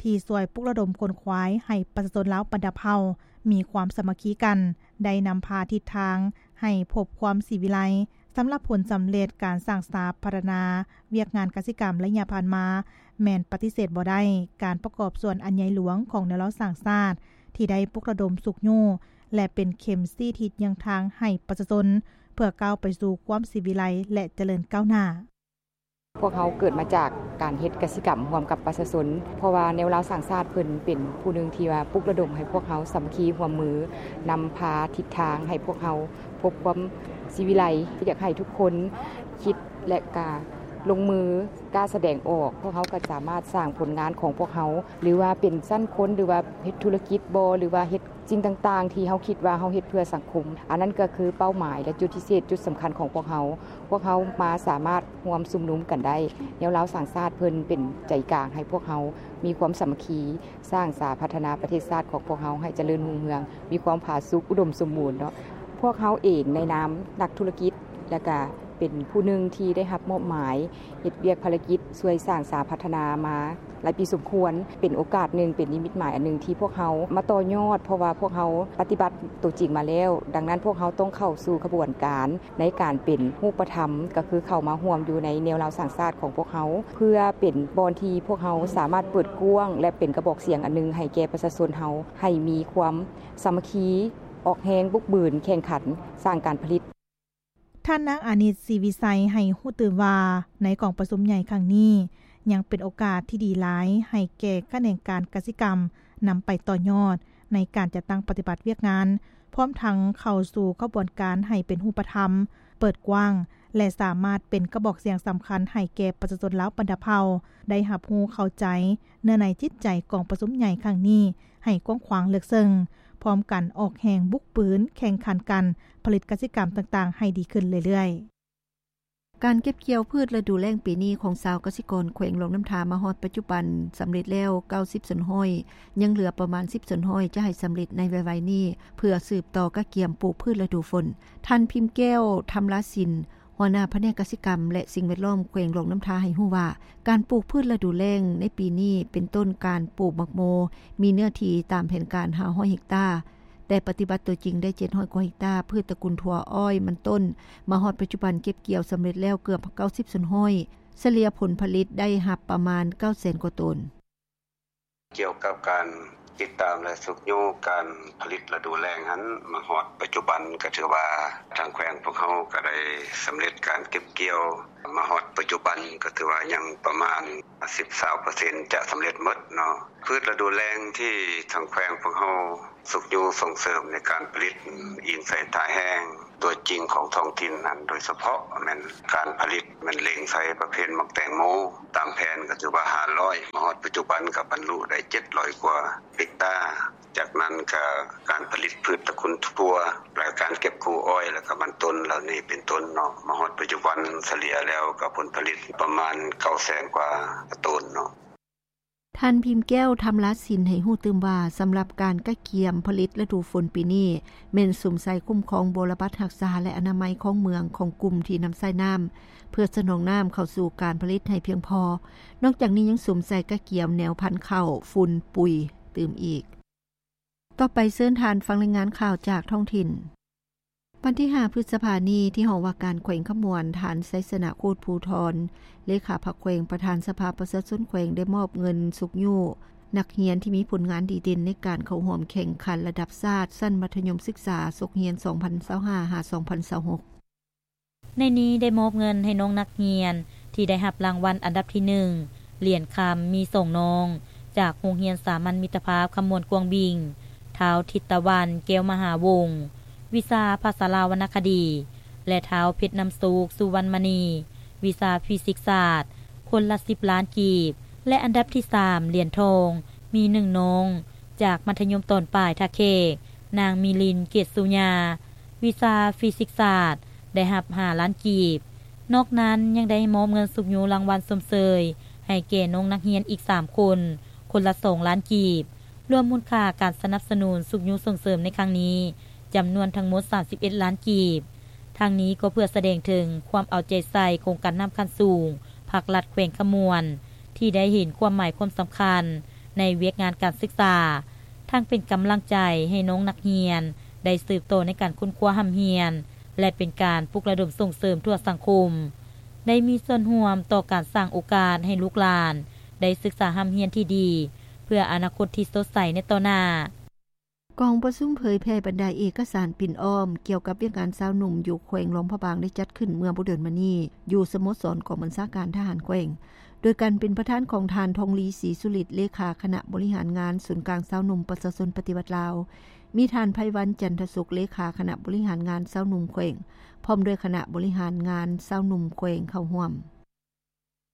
ທີ່ຊ່ວຍປຸກລະດົມຂົນຂວາຍໃຫ້ປະຊາຊົນລາວບັນດາເຜົ່າມີຄວາມສາມັກຄີກັນ, ໄດ້ນຳພາທິດທາງໃຫ້ພົບຄວາມສີວິໄລ. ສຳລັບຜົນສຳເລັດການສ້າງສາພັດທະນາວຽກງານກະສິກຳໄລຍະຜ່ານມາ ແມ່ນປະຕິເສດບໍ່ໄດ້ ການປະກອບສ່ວນອັນໃຫຍ່ຫຼວງຂອງແນວລາວສ້າງຊາດ ທີ່ໄດ້ປຸກລະດົມຊຸກຍູ້ ແລະ ເປັນເຂັມຊີ້ທິດຍ່າງທາງໃຫ້ປະຊາຊົນ ເພື່ອກ້າວໄປສູ່ຄວາມສີວິໄລ ແລະ ຈະເລີນກ້າວໜ້າ. ພວກເຮົາເກີດມາຈາກການເຮັດກະສິກຳຮ່ວມກັບປະຊາຊົນ, ເພາະວ່າແນວລາວສ້າງຊາດເພິ່ນເປັນຜູ້ໜຶ່ງທີ່ວ່າປຸກລະດົມໃຫ້ພວກເຮົາສາມັກຄີຮ່ວມມື, ນຳພາທິດທາງໃຫ້ພວກເຮົາພົບຄວາມສີວິໄລ. ຢາກໃຫ້ທຸກຄົນຄິດ ແລະ ກະລົງມື ກ້າສະແດງອອກ, ພວກເຮົາກໍສາມາດສ້າງຜົນງານຂອງພວກເຮົາ ຫຼືວ່າເປັນຊັ້ນຄົນ ຫຼືວ່າເຮັດທຸລະກິດບໍ ຫຼືວ່າເຮັດສິ່ງຕ່າງໆທີ່ເຮົາຄິດວ່າເຮົາເຮັດເພື່ອສັງຄົມ. ອັນນັ້ນກໍຄືເປົ້າໝາຍ ແລະ ຈຸດພິເສດ ຈຸດສຳຄັນຂອງພວກເຮົາ. ພວກເຮົາມາສາມາດຮ່ວມຊຸມນຸມກັນໄດ້. ແນວລາວສ້າງຊາດເພິ່ນເປັນໃຈກາງໃຫ້ພວກເຮົາມີຄວາມສາມັກຄີ, ສ້າງສາພັດທະນາປະເທດຊາດຂອງພວກເຮົາໃຫ້ຈະເລີນຮຸ່ງເຮືອງ, ມີຄວາມຜາສຸກ ອຸດົມສົມບູນເນາະ. ພວກເຮົາເອງໃນນາມນັກທຸລະກິດ ແລະ ກະເປັນຜູ້ໜຶ່ງທີ່ໄດ້ຮັບມອບໝາຍເຮັດວຽກພາລະກິດຊ່ວຍສ້າງສາພັດທະນາມາຫຼາຍປີສົມຄວນ, ເປັນໂອກາດໜຶ່ງ, ເປັນນິມິດໝາຍອັນໜຶ່ງທີ່ພວກເຮົາມາຕໍ່ຍອດ, ເພາະວ່າພວກເຮົາປະຕິບັດຕົວຈິງມາແລ້ວ. ດັ່ງນັ້ນ ພວກເຮົາຕ້ອງເຂົ້າສູ່ຂະບວນການໃນການເປັນຮູບປະທຳ, ກໍຄືເຂົ້າມາຮ່ວມຢູ່ໃນແນວລາວສ້າງຊາດຂອງພວກເຮົາ, ເພື່ອເປັນບ່ອນທີ່ພວກເຮົາສາມາດເປີດກວ້າງ ແລະ ເປັນກະບອກສຽງອັນໜຶ່ງໃຫ້ແກ່ປະຊາຊົນເຮົາ, ໃຫ້ມີຄວາມສາມັກຄີ, ອອກແຮງບຸກບືນ, ແຂ່ງຂັນ, ສ້າງການຜະລິດ. ທ່ານນາງ ອານິດ ສີວິໄຊ ໃຫ້ຮູ້ຕື່ມວ່າ ໃນກອງປະຊຸມໃຫຍ່ຄັ້ງນີ້ ຍັງເປັນໂອກາດທີ່ດີຫຼາຍໃຫ້ແກ່ຂະແໜງການກະສິກຳ ນຳໄປຕໍ່ຍອດໃນການຈັດຕັ້ງປະຕິບັດວຽກງານ, ພ້ອມທັງເຂົ້າສູ່ຂະບວນການໃຫ້ເປັນຮູບປະທຳ, ເປີດກວ້າງ ແລະ ສາມາດເປັນກະບອກສຽງສຳຄັນໃຫ້ແກ່ປະຊາຊົນລາວບັນດາເຜົ່າ ໄດ້ຮັບຮູ້ເຂົ້າໃຈເນື້ອໃນຈິດໃຈກອງປະຊຸມໃຫຍ່ຄັ້ງນີ້ ໃຫ້ກວ້າງຂວາງເລິກເຊິ່ງ, ພ້ອມກັນອອກແຮງບຸກບືນ, ແຂ່ງຂັນກັນຜະລິດກະສິກຳຕ່າງໆໃຫ້ດີຂຶ້ນເລື້ອຍໆ. ການເກັບກ່ຽວພືດລະດູແລ້ງປີນີ້ຂອງຊາວກະສິກອນແຂວງຫຼວງນ້ຳທາມາຮອດປັດຈຸບັນສຳເລັດແລ້ວເກົ້າສິບສ່ວນຮ້ອຍ, ຍັງເຫຼືອປະມານສິບສ່ວນຮ້ອຍຈະໃຫ້ສຳເລັດໃນໄວໆນີ້ ເພື່ອສືບຕໍ່ກະກຽມປູກພືດລະດູຝົນ. ທ່ານ ພິມແກ້ວ ທຳລາສິນ ຫົວໜ້າພະແນກກະສິກຳ ແລະ ສິ່ງແວດລ້ອມແຂວງຫຼວງນ້ຳທາໃຫ້ຮູ້ວ່າ ການປູກພືດລະດູແລ້ງໃນປີນີ້ ເປັນຕົ້ນການປູກໝາກໂມ ມີເນື້ອທີ່ຕາມແຜນການຫ້າຮ້ອຍເຮັກຕາ, ແຕ່ປະຕິບັດຕົວຈິງໄດ້ເຈັດຮ້ອຍກວ່າເຮັກຕາ, ພືດຕະກຸນຖົ່ວ, ອ້ອຍ, ມັນຕົ້ນ, ມາຮອດປັດຈຸບັນເກັບກ່ຽວສຳເລັດແລ້ວເກືອບເກົ້າສິບສ່ວນຮ້ອຍ, ສະເລ່ຍຜົນຜະລິດໄດ້ຮັບປະມານເກົ້າແສນກວ່າໂຕນ. ກ່ຽວກັບການຕິດຕາມ ແລະ ຊຸກຍູ້ການຜະລິດລະດູແລ້ງຫັ້ນ ມາຮອດປັດຈຸບັນກໍຖືວ່າທາງແຂວງພວກເຮົາກໍໄດ້ສຳເລັດການເກັບກ່ຽວ ມາຮອດປັດຈຸບັນກໍຖືວ່າຍັງປະມານສິບ ຊາວເປີເຊັນ ຈະສຳເລັດໝົດເນາະ. ພືດລະດູແລ້ງທີ່ທາງແຂວງພວກເຮົາຊຸກຍູ້ສົ່ງເສີມໃນການຜະລິດ ອີງໃສ່ທ່າແຮງ ຕົວຈິງຂອງທ້ອງຖິ່ນນັ້ນ ໂດຍສະເພາະແມ່ນການຜະລິດ ແມ່ນເລັງໃສ່ປະເພດໝາກແຕງໂມ ຕາມແຜນກໍຖືວ່າຫ້າຮ້ອຍ ມາຮອດປັດຈຸບັນກໍບັນລຸໄດ້ເຈັດຮ້ອຍກວ່າເຮັກຕາ. ຈາກນັ້ນກໍການຜະລິດພືດຕະກຸນຖົ່ວ ແລະ ການເກັບກູ້ອ້ອຍ ແລະ ກໍມັນຕົ້ນເຫຼົ່ານີ້ເປັນຕົ້ນເນາະ ມາຮອດປັດຈຸບັນສະເລ່ຍແລ້ວກໍຜົນຜະລິດປະມານເກົ້າແສນກວ່າໂຕນເນາະ. ທ່ານ ພິມແກ້ວ ທຳລາສິນ ໃຫ້ຮູ້ຕື່ມວ່າ ສຳລັບການກະກຽມຜະລິດລະດູຝົນປີນີ້ ແມ່ນສຸມໃສ່ຄຸ້ມຄອງບົວລະບັດຮັກສາ ແລະ ອະນາໄມຂອງເມືອງ ຂອງກຸ່ມທີ່ນຳໃຊ້ນ້ຳ ເພື່ອສະໜອງນ້ຳເຂົ້າສູ່ການຜະລິດໃຫ້ພຽງພໍ. ນອກຈາກນີ້ຍັງສຸມໃສ່ກະກຽມແນວພັນເຂົ້າ, ຝຸ່ນ, ປຸ໋ຍຕື່ມອີກ. ຕໍ່ໄປເຊີນທ່ານຟັງລາຍງານຂ່າວຈາກທ້ອງຖິ່ນ. ວັນທີຫ້າ ພຶດສະພານີ້ ທີ່ຫ້ອງວ່າການແຂວງຄຳມ່ວນ ທ່ານ ໄຊຊະນະ ໂຄດພູທອນ ເລຂາພັກແຂວງ ປະທານສະພາປະຊາຊົນແຂວງ ໄດ້ມອບເງິນຊຸກຍູ້ນັກຮຽນທີ່ມີຜົນງານດີເດັ່ນໃນການເຂົ້າຮ່ວມແຂ່ງຂັນລະດັບຊາດ ຊັ້ນມັດທະຍົມສຶກສາ ສົກຮຽນສອງພັນຊາວຫ້າ ຫາ ສອງພັນຊາວຫົກ. ໃນນີ້ໄດ້ມອບເງິນໃຫ້ນ້ອງນັກຮຽນທີ່ໄດ້ຮັບລາງວັນອັນດັບທີໜຶ່ງ ຫຼຽນຄຳ ມີສອງນ້ອງ ຈາກໂຮງຮຽນສາມັນມິດຕະພາບຄຳມ່ວນກວາງບິງ, ທ້າວ ທິດຕະວັນ ແກ້ວມະຫາວົງ ວິຊາພາສາລາວວັນນະຄະດີ ແລະ ທ້າວ ເພັດນ້ຳໂຊກ ສຸວັນມະນີ ວິຊາຟີຊິກສາດ ຄົນລະສິບລ້ານກີບ ແລະ ອັນດັບທີສາມ ຫຼຽນທອງ ມີໜຶ່ງນ້ອງ ຈາກມັດທະຍົມຕອນປາຍທ່າແຂກ ນາງ ມີລິນ ເກດສຸຍາ ວິຊາຟີຊິກສາດ ໄດ້ຮັບຫ້າລ້ານກີບ. ນອກນັ້ນຍັງໄດ້ມອບເງິນຊຸກຍູ້ລາງວັນຊົມເຊີຍໃຫ້ແກ່ນ້ອງນັກຮຽນອີກສາມຄົນ ຄົນລະສອງລ້ານກີບ, ລວມມູນຄ່າການສະໜັບສະໜູນຊຸກຍູ້ສົ່ງເສີມໃນຄັ້ງນີ້ ຈຳນວນທັງໝົດສາມສິບເອັດລ້ານກີບ. ທັງນີ້ກໍເພື່ອສະແດງເຖິງຄວາມເອົາໃຈໃສ່ໂຄງການນ້ຳຂັ້ນສູງ ພາກລັດແຂວງຄຳມ່ວນ ທີ່ໄດ້ເຫັນຄວາມໝາຍຄວາມສຳຄັນໃນວຽກງານການສຶກສາ, ທັງເປັນກຳລັງໃຈໃຫ້ນ້ອງນັກຮຽນໄດ້ສືບຕໍ່ໃນການຄົ້ນຄວ້າຮ່ຳຮຽນ ແລະ ເປັນການປຸກລະດົມສົ່ງເສີມທົ່ວສັງຄົມ ໄດ້ມີສ່ວນຮ່ວມຕໍ່ການສ້າງໂອກາດໃຫ້ລູກຫຼານໄດ້ສຶກສາຮ່ຳຮຽນທີ່ດີ ເພື່ອອະນາຄົດທີ່ສົດໃສໃນຕໍ່ໜ້າ. ກອງປະຊຸມເຜີຍແຜ່ບັນດາເອກະສານປິ່ນອ້ອມ ກ່ຽວກັບວຽກງານຊາວໜຸ່ມຢູ່ແຂວງຫຼວງພະບາງ ໄດ້ຈັດຂຶ້ນເມື່ອບໍ່ດົນມານີ້ ຢູ່ສະໂມສອນກອງບັນຊາການທະຫານແຂວງ ໂດຍການເປັນປະທານຂອງທ່ານ ທອງລີ ສີສຸລິດ ເລຂາຄະນະບໍລິຫານງານສູນກາງຊາວໜຸ່ມປະຊາຊົນປະຕິວັດລາວ, ມີທ່ານ ໄພວັນ ຈັນທະສຸກ ເລຂາຄະນະບໍລິຫານງານຊາວໜຸ່ມແຂວງ ພ້ອມດ້ວຍຄະນະບໍລິຫານງານຊາວໜຸ່ມແຂວງເຂົ້າຮ່ວມ.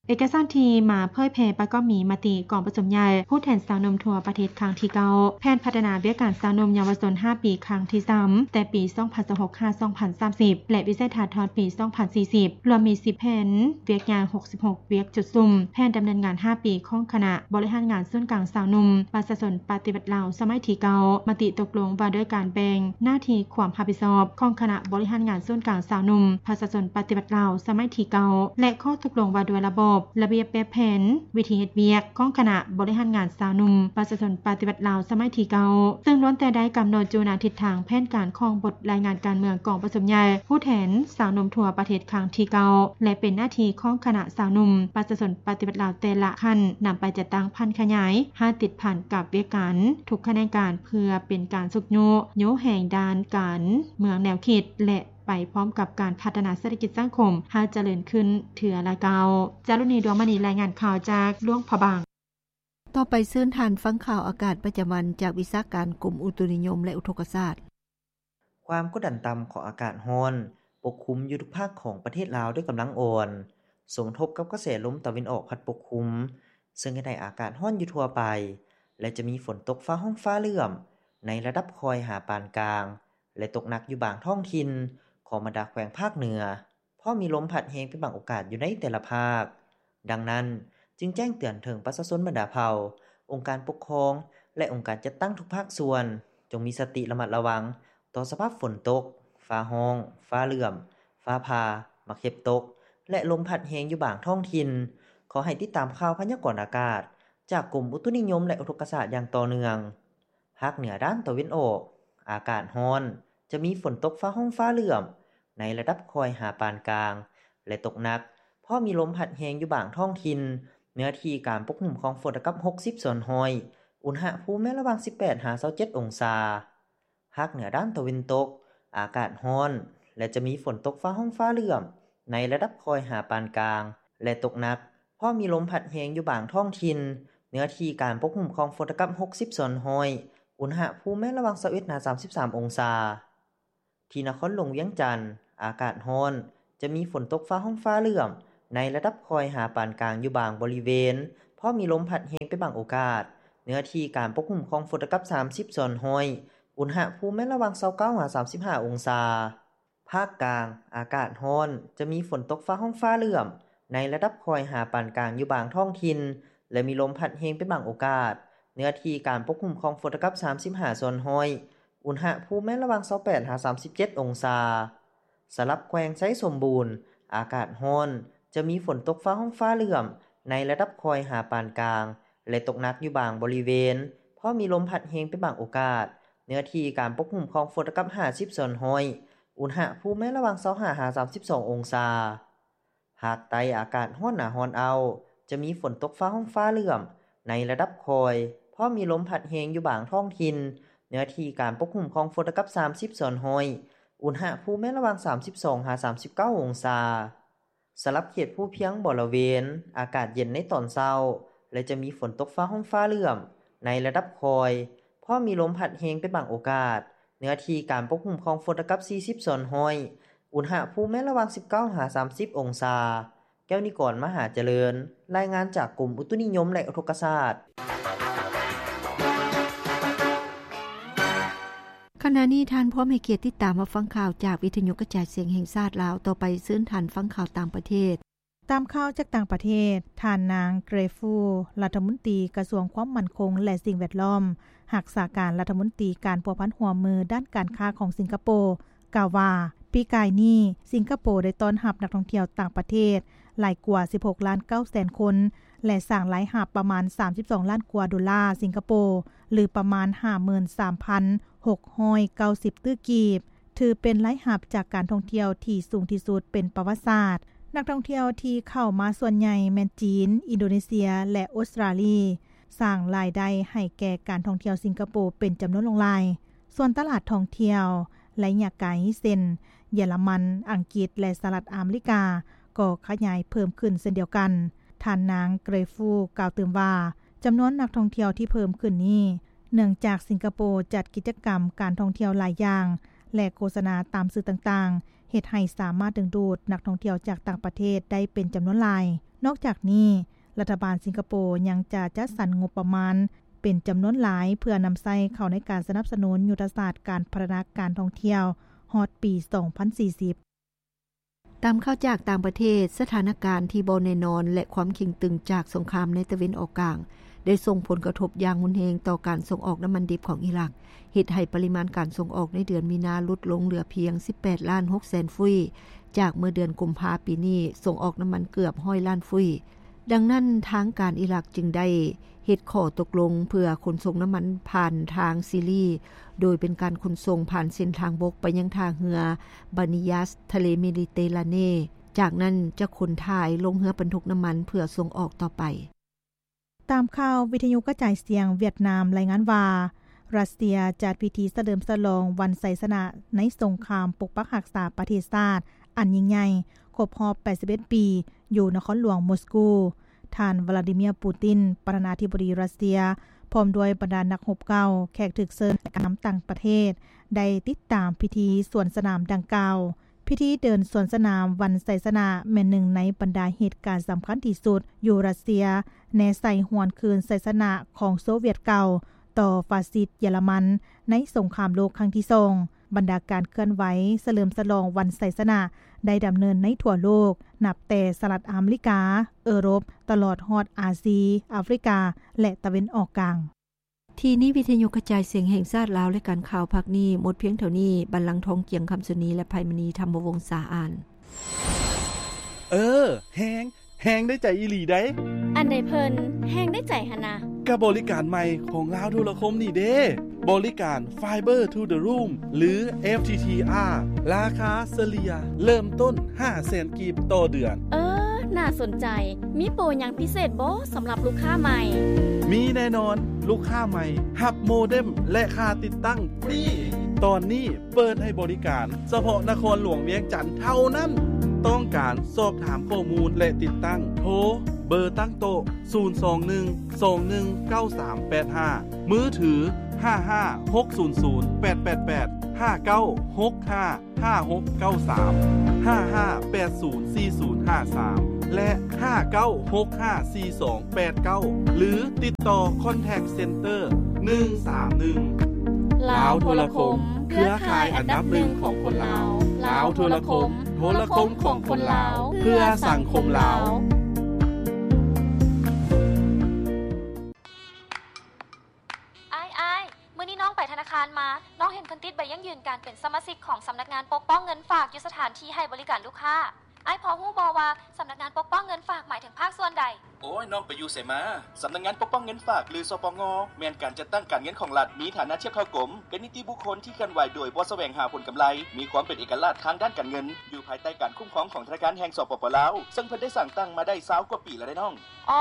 ເອກະສານທີ່ມາເຜີຍແຜ່ປະກອບມີມະຕິກອງປະຊຸມໃຫຍ່ຜູ້ແທນຊາວໜຸ່ມທົ່ວປະເທດຄັ້ງທີເກົ້າ, ແຜນພັດທະນາວຽກງານຊາວໜຸ່ມເຍົາວະຊົນຫ້າປີຄັ້ງທີສາມ ແຕ່ປີສອງພັນຊາວຫົກ ຫາ ສອງພັນສາມສິບ ແລະ ວິໄສທັດຮອດປີສອງພັນສີ່ສິບ ລວມມີສິບແຜນວຽກໃຫຍ່ ຫົກສິບຫົກ ວຽກຈຸດສຸມ, ແຜນດຳເນີນງານຫ້າປີຂອງຄະນະບໍລິຫານງານສູນກາງຊາວໜຸ່ມປະຊາຊົນປະຕິວັດລາວສະໄໝທີເກົ້າ, ມະຕິຕົກລົງວ່າດ້ວຍການແບ່ງໜ້າທີ່ຄວາມຮັບຜິດຊອບຂອງຄະນະບໍລິຫານງານສູນກາງຊາວໜຸ່ມປະຊາຊົນປະຕິວັດລາວສະໄໝທີເກົ້າ ແລະ ຂໍ້ຕົກລົງວ່າດ້ວຍລະບອບ, ລະບຽບແບບແຜນ, ວິທີເຮັດວຽກຂອງຄະນະບໍລິຫານງານຊາວໜຸ່ມປະຊາຊົນປະຕິວັດລາວສະໄໝທີເກົ້າ ຊຶ່ງລ້ວນແຕ່ໄດ້ກຳນົດຢູ່ໃນທິດທາງແຜນການຂອງບົດລາຍງານການເມືອງກອງປະຊຸມໃຫຍ່ຜູ້ແທນຊາວໜຸ່ມທົ່ວປະເທດ ຄັ້ງທີເກົ້າ ແລະ ເປັນໜ້າທີ່ຂອງຄະນະຊາວໜຸ່ມປະຊາຊົນປະຕິວັດລາວແຕ່ລະຂັ້ນ ນຳໄປຈັດຕັ້ງຜັນຂະຫຍາຍໃຫ້ຕິດພັນກັບວຽກງານທຸກຂະແໜງການ ເພື່ອເປັນການຊຸກຍູ້ ຍູ້ແຮງດ້ານການເມືອງແນວຄິດ ແລະ ໄປພ້ອມກັບການພັດທະນາເສດຖະກິດສັງຄົມໃຫ້ຈະເລີນຂຶ້ນເທື່ອລະກ້າວ. ຈາລຸນີ ດວງມະນີ ລາຍງານຂ່າວຈາກຫຼວງພະບາງ. ຕໍ່ໄປເຊີນທ່ານຟັງຂ່າວອາກາດປະຈຳວັນຈາກວິຊາການກົມອຸຕຸນິຍົມ ແລະ ອຸທົກກະສາດ. ຄວາມກົດດັນຕ່ຳຂອງອາກາດຮ້ອນປົກຄຸມຢູ່ທຸກພາກຂອງປະເທດລາວດ້ວຍກຳລັງອ່ອນ, ສົມທົບກັບກະແສລົມຕາເວັນອອກພັດປົກຄຸມ, ເຊິ່ງເຮັດໃຫ້ອາກາດຮ້ອນຢູ່ທົ່ວໄປ ແລະ ຈະມີຝົນຕົກຟ້າຮ້ອງຟ້າເຫຼື້ອມໃນລະດັບຄ່ອຍຫາປານກາງ ແລະ ຕົກໜັກຢູ່ບາງທ້ອງຖິ່ນ, ຂອງບັນດາແຂວງພາກເໜືອ. ເພາະມີລົມພັດແຮງເປັນບາງໂອກາດຢູ່ໃນແຕ່ລະພາກ. ດັ່ງນັ້ນ, ຈຶ່ງແຈ້ງເຕືອນເຖິງປະຊາຊົນບັນດາເຜົ່າ, ອົງການປົກຄອງ ແລະ ອົງການຈັດຕັ້ງທຸກພາກສ່ວນ, ຈົ່ງມີສະຕິລະມັດລະວັງຕໍ່ສະພາບຝົນຕົກ, ຟ້າຮ້ອງ, ຟ້າເຫຼື້ອມ, ຟ້າຜ່າ, ໝາກເຫັບຕົກ ແລະ ລົມພັດແຮງຢູ່ບາງທ້ອງຖິ່ນ. ຂໍໃຫ້ຕິດຕາມຂ່າວພະຍາກອນອາກາດຈາກກົມອຸຕຸນິຍົມ ແລະ ອຸທົກກະສາດຢ່າງຕໍ່ເນື່ອງ. ພາກເໜືອດ້ານຕາເວັນອອກ, ອາກາດຮ້ອນ, ຈະມີຝົນຕົກຟ້າຮ້ອງຟ້າເຫຼື້ອມໃນລະດັບຄ່ອຍຫາປານກາງ ແລະ ຕົກໜັກ, ເພາະມີລົມພັດແຮງຢູ່ບາງທ້ອງຖິ່ນ, ເນື້ອທີ່ການປົກຫຸ້ມຂອງຝົນເທົ່າກັບຫົກສິບສ່ວນຮ້ອຍ, ອຸນຫະພູມແມ່ນລະຫວ່າງສິບແປດຫາຊາວເຈັດອົງສາ. ພາກເໜືອດ້ານຕາເວັນຕົກ, ອາກາດຮ້ອນ ແລະ ຈະມີຝົນຕົກຟ້າຮ້ອງຟ້າເຫຼື້ອມໃນລະດັບຄ່ອຍຫາປານກາງ ແລະ ຕົກໜັກ, ເພາະມີລົມພັດແຮງຢູ່ບາງທ້ອງຖິ່ນ, ເນື້ອທີ່ການປົກຫຸ້ມຂອງຝົນເທົ່າກັບຫົກສິບສ່ວນຮ້ອຍ, ອຸນຫະພູມແມ່ນລະຫວ່າງຊາວເອັດຫາສາມສິບສາມອົງສາ. ທີ່ນະຄອນຫຼວງວຽງຈັນ ອາກາດຮ້ອນ, ຈະມີຝົນຕົກຟ້າຮ້ອງຟ້າເຫຼື້ອມໃນລະດັບຄ່ອຍຫາປານກາງຢູ່ບາງບໍລິເວນ, ພ້ອມມີລົມພັດແຮງເປັນບາງໂອກາດ. ເນື້ອທີ່ການປົກຄຸມຂອງຝົນເທົ່າກັບສາມສິບສ່ວນຮ້ອຍ, ອຸນຫະພູມແມ່ນລະຫວ່າງຊາວເກົ້າຫາສາມສິບຫ້າອົງສາ. ພາກກາງ ອາກາດຮ້ອນ, ຈະມີຝົນຕົກຟ້າຮ້ອງຟ້າເຫຼື້ອມໃນລະດັບຄ່ອຍຫາປານກາງຢູ່ບາງທ້ອງຖິ່ນ ແລະ ມີລົມພັດແຮງເປັນບາງໂອກາດ. ເນື້ອທີ່ການປົກຄຸມຂອງຝົນເທົ່າກັບສາມສິບຫ້າສ່ວນຮ້ອຍ, ອຸນຫະພູມແມ່ນລະຫວ່າງຊາວແປດຫາສາມສິບເຈັດອົງສາ. ສຳລັບແຂວງໄຊສົມບູນ ອາກາດຮ້ອນ, ຈະມີຝົນຕົກຟ້າຮ້ອງຟ້າເຫຼື້ອມໃນລະດັບຄ່ອຍຫາປານກາງ ແລະ ຕົກໜັກຢູ່ບາງບໍລິເວນ, ພ້ອມມີລົມພັດແຮງເປັນບາງໂອກາດ. ເນື້ອທີ່ການປົກຄຸມຂອງຝົນເທົ່າກັບຫ້າສິບສ່ວນຮ້ອຍ, ອຸນຫະພູມແມ່ນລະຫວ່າງຊາວຫ້າຫາສາມສິບສອງອົງສາ. ພາກໃຕ້ອາກາດຮ້ອນໜາຮ້ອນອ້າວ, ຈະມີຝົນຕົກຟ້າຮ້ອງຟ້າເຫຼື້ອມໃນລະດັບຄ່ອຍ, ພ້ອມມີລົມພັດແຮງຢູ່ບາງທ້ອງຖິ່ນ. ເນື້ອທີ່ການປົກຄຸມຂອງຝົນເທົ່າກັບສາມສິບສ່ວນຮ້ອຍ, ອຸນຫະພູມແມ່ນລະຫວ່າງສາມສິບສອງຫາສາມສິບເກົ້າອົງສາ. ສຳລັບເຂດພູພຽງບໍລະເວນ, ອາກາດເຢັນໃນຕອນເຊົ້າ ແລະ ຈະມີຝົນຕົກຟ້າຮ້ອງຟ້າເຫຼື້ອມໃນລະດັບຄ່ອຍ, ພ້ອມມີລົມພັດແຮງເປັນບາງໂອກາດ. ເນື້ອທີ່ການປົກຄຸມຂອງຝົນເທົ່າກັບສີ່ສິບສ່ວນຮ້ອຍ, ອຸນຫະພູມແມ່ນລະຫວ່າງສິບເກົ້າຫາສາມສິບອົງສາ. ແກ້ວນິກອນ ມະຫາຈະເລີນ, ລາຍງານຈາກກົມອຸຕຸນິຍົມ ແລະ ອຸທົກກະສາດ. ຂະນະນີ້ທ່ານພ້ອມໃຫ້ກຽດຕິດຕາມຮັບຟັງຂ່າວຈາກວິທະຍຸກະຈາຍສຽງແຫ່ງຊາດລາວ. ຕໍ່ໄປເຊີນທ່ານຟັງຂ່າວຕ່າງປະເທດ. ຕາມຂ່າວຈາກຕ່າງປະເທດ, ທ່ານນາງ ເກຣຟູ ລັດຖະມົນຕີກະຊວງຄວາມໝັ້ນຄົງ ແລະ ສິ່ງແວດລ້ອມ, ຮັກສາການລັດຖະມົນຕີການພົວພັນຮ່ວມມືດ້ານການຄ້າຂອງສິງກະໂປ ກ່າວວ່າ ປີກາຍນີ້ ສິງກະໂປໄດ້ຕ້ອນຮັບນັກທ່ອງທ່ຽວຕ່າງປະເທດຫຼາຍກວ່າສິບຫົກລ້ານເກົ້າແສນຄົນ ແລະ ສ້າງລາຍຮັບປະມານສາມສິບສອງລ້ານກວ່າໂດລາສິງກະໂປ ຫຼື ປະມານຫ້າໝື່ນສາມພັນຫົກຮ້ອຍເກົ້າສິບຕື້ກີບ. ຖືເປັນລາຍຮັບຈາກການທ່ອງທ່ຽວທີ່ສູງທີ່ສຸດເປັນປະຫວັດສາດ. ນັກທ່ອງທ່ຽວທີ່ເຂົ້າມາສ່ວນໃຫຍ່ແມ່ນຈີນ, ອິນໂດເນເຊຍ ແລະ ອົດສະຕຣາລີ, ສ້າງລາຍໄດ້ໃຫ້ແກ່ການທ່ອງທ່ຽວສິງກະໂປເປັນຈຳນວນຫຼວງຫຼາຍ. ສ່ວນຕະຫຼາດທ່ອງທ່ຽວໄລຍະໄກ ເຊັ່ນ ເຢຍລະມັນ, ອັງກິດ ແລະ ສະຫະລັດອາເມລິກາ ກໍຂະຫຍາຍເພີ່ມຂຶ້ນເຊັ່ນດຽວກັນ. ທ່ານນາງ ເກຣຟູ ກ່າວຕື່ມວ່າ ຈຳນວນນັກທ່ອງທ່ຽວທີ່ເພີ່ມຂຶ້ນນີ້ ເນື່ອງຈາກສິງກະໂປຈັດກິດຈະກຳການທ່ອງທ່ຽວຫຼາຍຢ່າງ ແລະ ໂຄສະນາຕາມສື່ຕ່າງໆ ເຮັດໃຫ້ສາມາດດຶງດູດນັກທ່ອງທ່ຽວຈາກຕ່າງປະເທດໄດ້ເປັນຈຳນວນຫຼາຍ. ນອກຈາກນີ້, ລັດຖະບານສິງກະໂປຍັງຈະຈັດສັນງົບປະມານເປັນຈຳນວນຫຼາຍ ເພື່ອນຳໃຊ້ເຂົ້າໃນການສະໜັບສະໜູນຍຸດທະສາດການພັດທະນາການທ່ອງທ່ຽວຮອດປີສອງພັນສີ່ສິບ. ຕາມຂ່າວຈາກຕ່າງປະເທດ, ສະຖານະການທີ່ບໍ່ແນ່ນອນ ແລະ ຄວາມເຄັ່ງຕຶງຈາກສົງຄາມໃນຕາເວັນອອກກາງ ໄດ້ສົ່ງຜົນກະທົບຢ່າງຮຸນແຮງຕໍ່ການສົ່ງອອກນ້ຳມັນດິບຂອງອີຣັກ, ເຮັດໃຫ້ປະລິມານການສົ່ງອອກໃນເດືອນມີນາຫຼຸດລົງເຫຼືອພຽງສິບແປດລ້ານຫົກແສນຟຸຍ, ຈາກເມື່ອເດືອນກຸມພາປີນີ້ສົ່ງອອກນ້ຳມັນເກືອບຮ້ອຍລ້ານຟຸຍ. ດັ່ງນັ້ນ, ທາງການອີຣັກຈຶ່ງໄດ້ເຮັດຂໍ້ຕົກລົງເພື່ອຂົນສົ່ງນ້ຳມັນຜ່ານທາງຊີລີ, ໂດຍເປັນການຂົນສົ່ງຜ່ານເສັ້ນທາງບົກໄປຍັງທ່າເຮືອບານີຢາສ ທະເລເມດີເຕຣາເນ, ຈາກນັ້ນຈະຂົນຖ່າຍລົງເຮືອບັນທຸກນ້ຳມັນເພື່ອສົ່ງອອກຕໍ່ໄປ. ຕາມຂ່າວວິທະຍຸກະຈາຍສຽງຫວຽດນາມລາຍງານວ່າ, ຣັດເຊຍຈັດພິທີສະເຫຼີມສະຫຼອງວັນໄຊຊະນະໃນສົງຄາມປົກປັກຮັກສາປະເທດຊາດອັນຍິ່ງໃຫຍ່ ຄົບຮອບແປດສິບເອັດປີ ຢູ່ນະຄອນຫຼວງມົສກູ. ທ່ານ ວລາດີເມຍ ປູຕິນ ປະທານາທິບໍດີຣັດເຊຍ ພ້ອມດ້ວຍບັນດານັກຮົບເກົ່າ, ແຂກຖືກເຊີນ ແລະ ຜູ້ນຳຕ່າງປະເທດ ໄດ້ຕິດຕາມພິທີສວນສະໜາມດັ່ງກ່າວ. ພິທີເດີນສວນສະໜາມວັນໄຊຊະນະ ແມ່ນໜຶ່ງໃນບັນດາເຫດການສຳຄັນທີ່ສຸດຢູ່ຣັດເຊຍ ແນໃສ່ຫວນຄືນໄຊຊະນະຂອງໂຊວຽດເກົ່າຕໍ່ຟາຊິດເຢຍລະມັນໃນສົງຄາມໂລກຄັ້ງທີສອງ. ບັນດາການເຄື່ອນໄຫວສະເຫຼີມສະຫຼອງວັນໄຊຊະນະ ໄດ້ດຳເນີນໃນທົ່ວໂລກ, ນັບແຕ່ສະຫະລັດອາເມລິກາ, ເອີຣົບ, ຕະຫຼອດຮອດອາຊີ, ອາຟຣິກາ ແລະ ຕາເວັນອອກກາງ. ທີ່ນີ້ວິທະຍຸກະຈາຍສຽງແຫ່ງຊາດລາວ ລາຍການຂ່າວພາກນີ້ໝົດພຽງເທົ່ານີ້. ບັນລັງທອງ ກຽງຄຳສຸນີ ແລະ ໄພມະນີ ທຳມະວົງສາ ອ່ານ. ເອີ ແຮງ ແຮງໄດ້ໃຈອີ່ຫຼີໃດ໋. ອັນໃດເພິ່ນແຮງໄດ້ໃຈຫັ້ນນະ? ກະບໍລິການໃໝ່ຂອງລາວໂທລະຄົມນີ້ເດ້ ບໍລິການ Fiber to the Room ຫຼື ເອັຟທີທີອາ ລາຄາສະເລ່ຍເລີ່ມຕົ້ນຫ້າແສນກີບຕໍ່ເດືອນ. ເອີ ໜ້າສົນໃຈ. ມີໂປຫຍັງພິເສດບໍ່ສຳລັບລູກຄ້າໃໝ່? ມີແນ່ນອນ, ລູກຄ້າໃໝ່ຮັບໂມເດັມ ແລະ ຄ່າຕິດຕັ້ງຟຣີ. ຕອນນີ້ເປີດໃຫ້ບໍລິການສະເພາະນະຄອນຫຼວງວຽງຈັນເທົ່ານັ້ນ. ຕ້ອງການສອບຖາມຂໍ້ມູນ ແລະ ຕິດຕັ້ງ, ໂທເບີຕັ້ງໂຕະ ສູນສອງໜຶ່ງ ສອງໜຶ່ງ ເກົ້າສາມແປດຫ້າ, ມືຖື ຫ້າຫ້າຫົກສູນສູນແປດແປດແປດ ຫ້າເກົ້າຫົກຫ້າຫ້າຫົກເກົ້າສາມ ຫ້າຫ້າແປດສູນສີ່ສູນຫ້າສາມ ແລະ ຫ້າເກົ້າຫົກຫ້າສີ່ສອງແປດເກົ້າ ຫຼື ຕິດຕໍ່ Contact Center ໜຶ່ງສາມໜຶ່ງ. ລາວໂທລະຄົມ ເຄືອຂ່າຍອັນດັບໜຶ່ງຂອງຄົນລາວ. ລາວໂທລະຄົມ ໂທລະຄົມຂອງຄົນລາວ ເພື່ອສັງຄົມລາວ. ອ້າຍ ອ້າຍ ມື້ນີ້ນ້ອງໄປທະນາຄານມາ, ນ້ອງເຫັນເພິ່ນຕິດໃບຢັ້ງຢືນການເປັນສະມາຊິກຂອງສຳນັກງານປົກປ້ອງເງິນຝາກຢູ່ສະຖານທີ່ໃຫ້ບໍລິການລູກຄ້າ. ອ້າຍພໍຮູ້ບໍ່ວ່າສຳນັກງານປົກປ້ອງເງິນຝາກໝາຍເຖິງພາກສ່ວນໃດ? ໂອ້ຍ ນ້ອງໄປຢູ່ໃສມາ? ສຳນັກງານປົກປ້ອງເງິນຝາກ ຫຼື ສປງ ແມ່ນການຈັດຕັ້ງການເງິນຂອງລັດ, ມີຖານະທຽບເທົ່າກົມ, ເປັນນິຕິບຸກຄົນທີ່ເຄື່ອນໄຫວໂດຍບໍ່ສະແຫວງຫາຜົນກຳໄລ, ມີຄວາມເປັນເອກະລາດທາງດ້ານການເງິນ, ຢູ່ພາຍໃຕ້ການຄຸ້ມຄອງຂອງທະນາຄານແຫ່ງ ສປປ ລາວ, ເຊິ່ງເພິ່ນໄດ້ສ້າງຕັ້ງມາໄດ້ຊາວກວ່າປີແລ້ວເດ້ນ້ອງ. ອໍ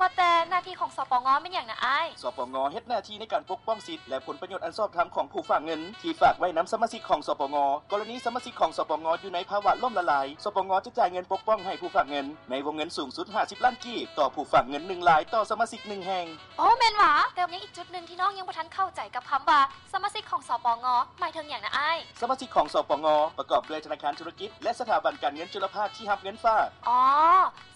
ວ່າແຕ່ໜ້າທີ່ຂອງ ສປງ ແມ່ນຫຍັງນະອ້າຍ? ສປງ ເຮັດໜ້າທີ່ໃນການປົກປ້ອງສິດ ແລະ ຜົນປະໂຫຍດອັນຊອບທຳຂອງຜູ້ຝາກເງິນທີ່ຝາກໄວ້ນຳສະມາຊິກຂອງ ສປງ. ກໍລະນີສະມາຊິກຂອງ ສປງ ຢູ່ໃນພາວະລົ້ມລະລາຍ, ສປງ ຈະຈ່າຍເງິນປົກປ້ອງໃຫ້ຜູ້ຝາກເງິນໃນວົງເງິນສູງສຸດຫ້າສິບລ້ານກີບຕໍ່ຜູ້ຝາກເງິນໜຶ່ງລາຍຕໍ່ສະມາຊິກໜຶ່ງແຫ່ງ. ໂອ້ ແມ່ນຫວາ? ແຕ່ຍັງອີກຈຸດໜຶ່ງທີ່ນ້ອງຍັງບໍ່ທັນເຂົ້າໃຈກັບຄຳວ່າສະມາຊິກຂອງ ສປງ ໝາຍເຖິງຫຍັງນະອ້າຍ? ສະມາຊິກຂອງ ສປງ ປະກອບດ້ວຍທະນາຄານທຸລະກິດ ແລະ ສະຖາບັນການເງິນຈຸລະພາກທີ່ຮັບເງິນຝາກ. ອໍ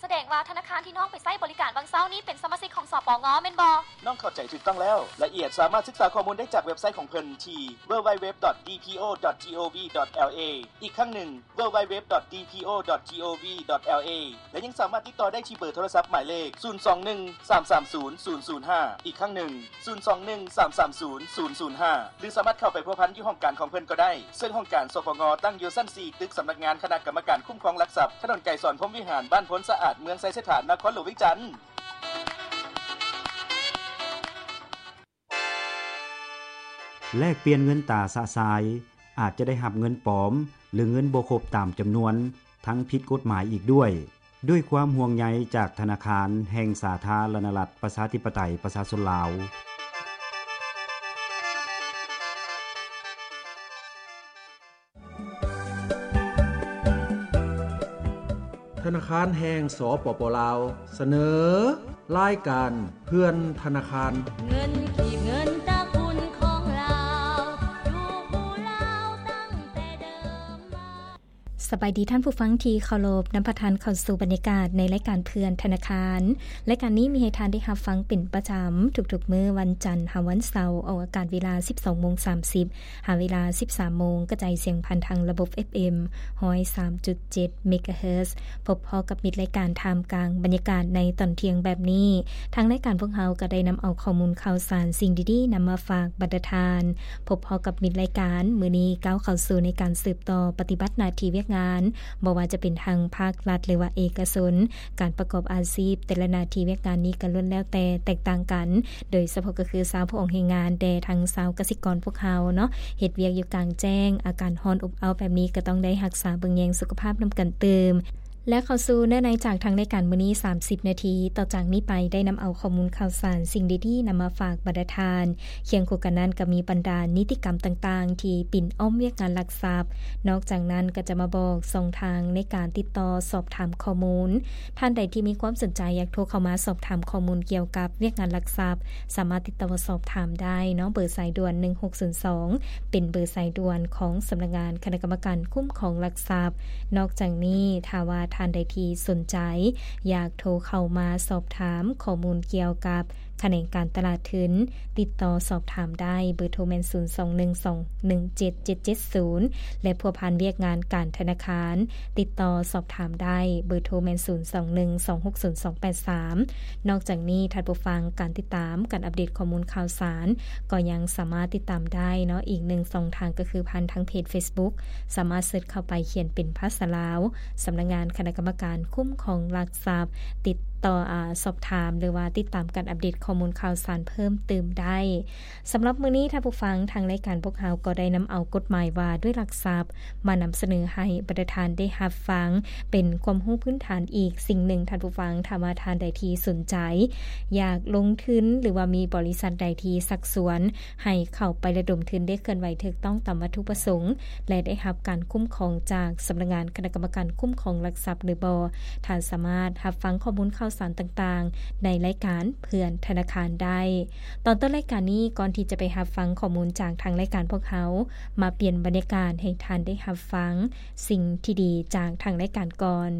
ສະແດງວ່າທະນາຄານທີ່ນ້ອງໄປໃຊ້ບໍລິການຫວ່າງເຊົ້ານີ້ເປັນສະມາຊິກຂອງ ສປງ ແມ່ນບໍ່? ນ້ອງເຂົ້າໃຈຖືກຕ້ອງແລ້ວ. ລາຍລະອຽດສາມາດສຶກສາຂໍ້ມູນໄດ້ຈາກເວັບໄຊຂອງເພິ່ນທີ່ www.dpo.gov.la ອີກຄັ້ງໜຶ່ງ www.dpo.gov.la ແລະ ຍັງສາມາດຕິດຕໍ່ໄດ້ທີ່ເບີໂທລະສັບໝາຍເລກ ສູນສອງໜຶ່ງສາມສາມສູນສູນສູນຫ້າ ອີກຄັ້ງໜຶ່ງ ສູນສອງໜຶ່ງສາມສາມສູນສູນສູນຫ້າ ຫຼື ສາມາດເຂົ້າໄປພົວພັນຢູ່ຫ້ອງການຂອງເພິ່ນກໍໄດ້, ເຊິ່ງຫ້ອງການ ສປງ ຕັ້ງຢູ່ຊັ້ນສີ່ ຕຶກສຳນັກງານຄະນະກຳມະການຄຸ້ມຄອງຫຼັກຊັບ, ຖະໜົນໄກສອນ ພົມວິຫານ, ບ້ານໂພນສະອາດ, ເມືອງໄຊເສດຖາ, ນະຄອນຫຼວງວຽງຈັນ. ແລກປ່ຽນເງິນຕາຊະຊາຍ ອາດຈະໄດ້ຮັບເງິນປອມ ຫຼື ເງິນບໍ່ຄົບຕາມຈຳນວນ ທັງຜິດກົດໝາຍອີກດ້ວຍ. ດ້ວຍຄວາມຫ່ວງໃຍຈາກທະນາຄານແຫ່ງສາທາລະນະລັດ ປະຊາທິປະໄຕ ປະຊາຊົນລາວ. ທະນາຄານແຫ່ງ ສປປ ລາວ ສະເໜີ ລາຍການເພື່ອນທະນາຄານ. ເງິນກີບ ເງິນຕະກຸນຂອງລາວ ຢູ່ຄູ່ລາວຕັ້ງແຕ່ເດີມມາ. ສະບາຍດີທ່ານຜູ້ຟັງທີ່ເຄົາລົບ, ນຳພາທ່ານເຂົ້າສູ່ບັນຍາກາດໃນລາຍການເພື່ອນທະນາຄານ. ລາຍການນີ້ມີໃຫ້ທ່ານໄດ້ຮັບຟັງເປັນປະຈຳທຸກໆມື້ວັນຈັນຫາວັນເສົາ, ອອກອາກາດເວລາສິບສອງໂມງສາມສິບ ຫາເວລາສິບສາມໂມງ, ກະຈາຍສຽງຜ່ານທາງລະບົບ ເອັຟເອັມ ຮ້ອຍສາມຈຸດເຈັດ ເມກາເຮີດ. ພົບພໍ້ກັບມິດລາຍການທ່າມກາງບັນຍາກາດໃນຕອນທ່ຽງແບບນີ້. ທາງລາຍການພວກເຮົາກໍໄດ້ນຳເອົາຂໍ້ມູນຂ່າວສານ, ສິ່ງດີໆນຳມາຝາກບັນດາທ່ານ. ພົບພໍ້ກັບມິດລາຍການ, ມື້ນີ້ກ້າວເຂົ້າສູ່ໃນການສືບຕໍ່ປະຕິບັດໜ້າທີ່ວຽກງານ, ບໍ່ວ່າຈະເປັນທາງພາກລັດ ຫຼືວ່າເອກະຊົນ, ການປະກອບອາຊີບ, ແຕ່ລະໜ້າທີ່ວຽກງານນີ້ກໍລ້ວນແລ້ວແຕ່ແຕກຕ່າງກັນ. ໂດຍສະເພາະກໍຄືຊາວຜູ້ອອກແຮງງານ ແດ່ທັງຊາວກະສິກອນພວກເຮົາເນາະ, ເຮັດວຽກຢູ່ກາງແຈ້ງ, ອາກາດຮ້ອນອົບເອົ້າແບບນີ້ ກໍຕ້ອງໄດ້ຮັກສາເບິ່ງແຍງສຸຂະພາບນຳກັນຕື່ມ. ແລະ ເຂົ້າສູ່ເນື້ອໃນຈາກທາງລາຍການມື້ນີ້ ສາມສິບນາທີຕໍ່ຈາກນີ້ໄປ ໄດ້ນຳເອົາຂໍ້ມູນຂ່າວສານ, ສິ່ງດີໆນຳມາຝາກບັນດາທ່ານ, ຄຽງຄູ່ກັນນັ້ນກໍມີບັນດານິຕິກຳຕ່າງໆທີ່ປິ່ນອ້ອມວຽກງານລັກຊັບ. ນອກຈາກນັ້ນກໍຈະມາບອກຊ່ອງທາງໃນການຕິດຕໍ່ສອບຖາມຂໍ້ມູນ. ທ່ານໃດທີ່ມີຄວາມສົນໃຈຢາກໂທເຂົ້າມາສອບຖາມຂໍ້ມູນກ່ຽວກັບວຽກງານລັກຊັບ, ສາມາດຕິດຕໍ່ສອບຖາມໄດ້ເນາະ, ເບີສາຍດ່ວນໜຶ່ງຫົກສູນສອງ ເປັນເບີສາຍດ່ວນຂອງສຳນັກງານຄະນະກຳມະການຄຸ້ມຄອງຫຼັກຊັບ. ນອກຈາກນີ້, ຖ້າວ່າທ່ານໃດທີ່ສົນໃຈຢາກໂທເຂົ້າມາສອບຖາມຂໍ້ມູນກ່ຽວກັບຂະແໜງການຕະຫຼາດທຶນ, ຕິດຕໍ່ສອບຖາມໄດ້, ເບີໂທແມ່ນ ສູນສອງໜຶ່ງສອງໜຶ່ງເຈັດເຈັດເຈັດສູນ ແລະ ພົວພັນວຽກງານການທະນາຄານ, ຕິດຕໍ່ສອບຖາມໄດ້, ເບີໂທແມ່ນ ສູນສອງໜຶ່ງສອງຫົກສູນສອງແປດສາມ. ນອກຈາກນີ້, ທ່ານຜູ້ຟັງ, ການຕິດຕາມການອັບເດດຂໍ້ມູນຂ່າວສານ ກໍຍັງສາມາດຕິດຕາມໄດ້ເນາະ, ອີກໜຶ່ງຊ່ອງທາງກໍຄືຜ່ານທາງເພຈເຟສບຸກ, ສາມາດເສີດເຂົ້າໄປຂຽນເປັນພາສາລາວ, ສຳນັກງານຄະນະກຳມະການຄຸ້ມຄອງຫຼັກຊັບ, ຕິດຕໍ່, ອາ, ສອບຖາມ ຫຼືວ່າຕິດຕາມການອັບເດດຂໍ້ມູນຂ່າວສານເພີ່ມເຕີມໄດ້. ສຳລັບມື້ນີ້, ທ່ານຜູ້ຟັງ, ທາງລາຍການພວກເຮົາກໍໄດ້ນຳເອົາກົດໝາຍວ່າດ້ວຍຫຼັກຊັບ ມານຳສະເໜີໃຫ້ບັນດາທ່ານໄດ້ຮັບຟັງ ເປັນຄວາມຮູ້ພື້ນຖານອີກສິ່ງໜຶ່ງ. ທ່ານຜູ້ຟັງ, ຖ້າວ່າທ່ານໃດທີ່ສົນໃຈຢາກລົງທຶນ ຫຼືວ່າມີບໍລິສັດໃດທີ່ຊັກຊວນໃຫ້ເຂົ້າໄປລະດົມທຶນ ໄດ້ເຄື່ອນໄຫວຖືກຕ້ອງຕາມວັດຖຸປະສົງ ແລະ ໄດ້ຮັບການຄຸ້ມຄອງຈາກສຳນັກງານຄະນະກຳມະການຄຸ້ມຄອງຫຼັກຊັບ ຫຼືບໍ່, ທ່ານສາມາດຮັບຟັງຂໍ້ມູນຂ່າວ ສານຕ່າງໆ ໃນລາຍການເພື່ອນທະນາຄານໄດ້. ຕອນຕົ້ນລາຍການນີ້, ກ່ອນທີ່ຈະໄປຮັບຟັງຂໍ້ມູນຈາກທາງລາຍການພວກເຮົາ, ມາປ່ຽນບັນຍາກາດໃຫ້ທ່ານໄດ້ຮັບຟັງສິ່ງທີ່ດີຈາກທາງລາຍການກ່ອນ.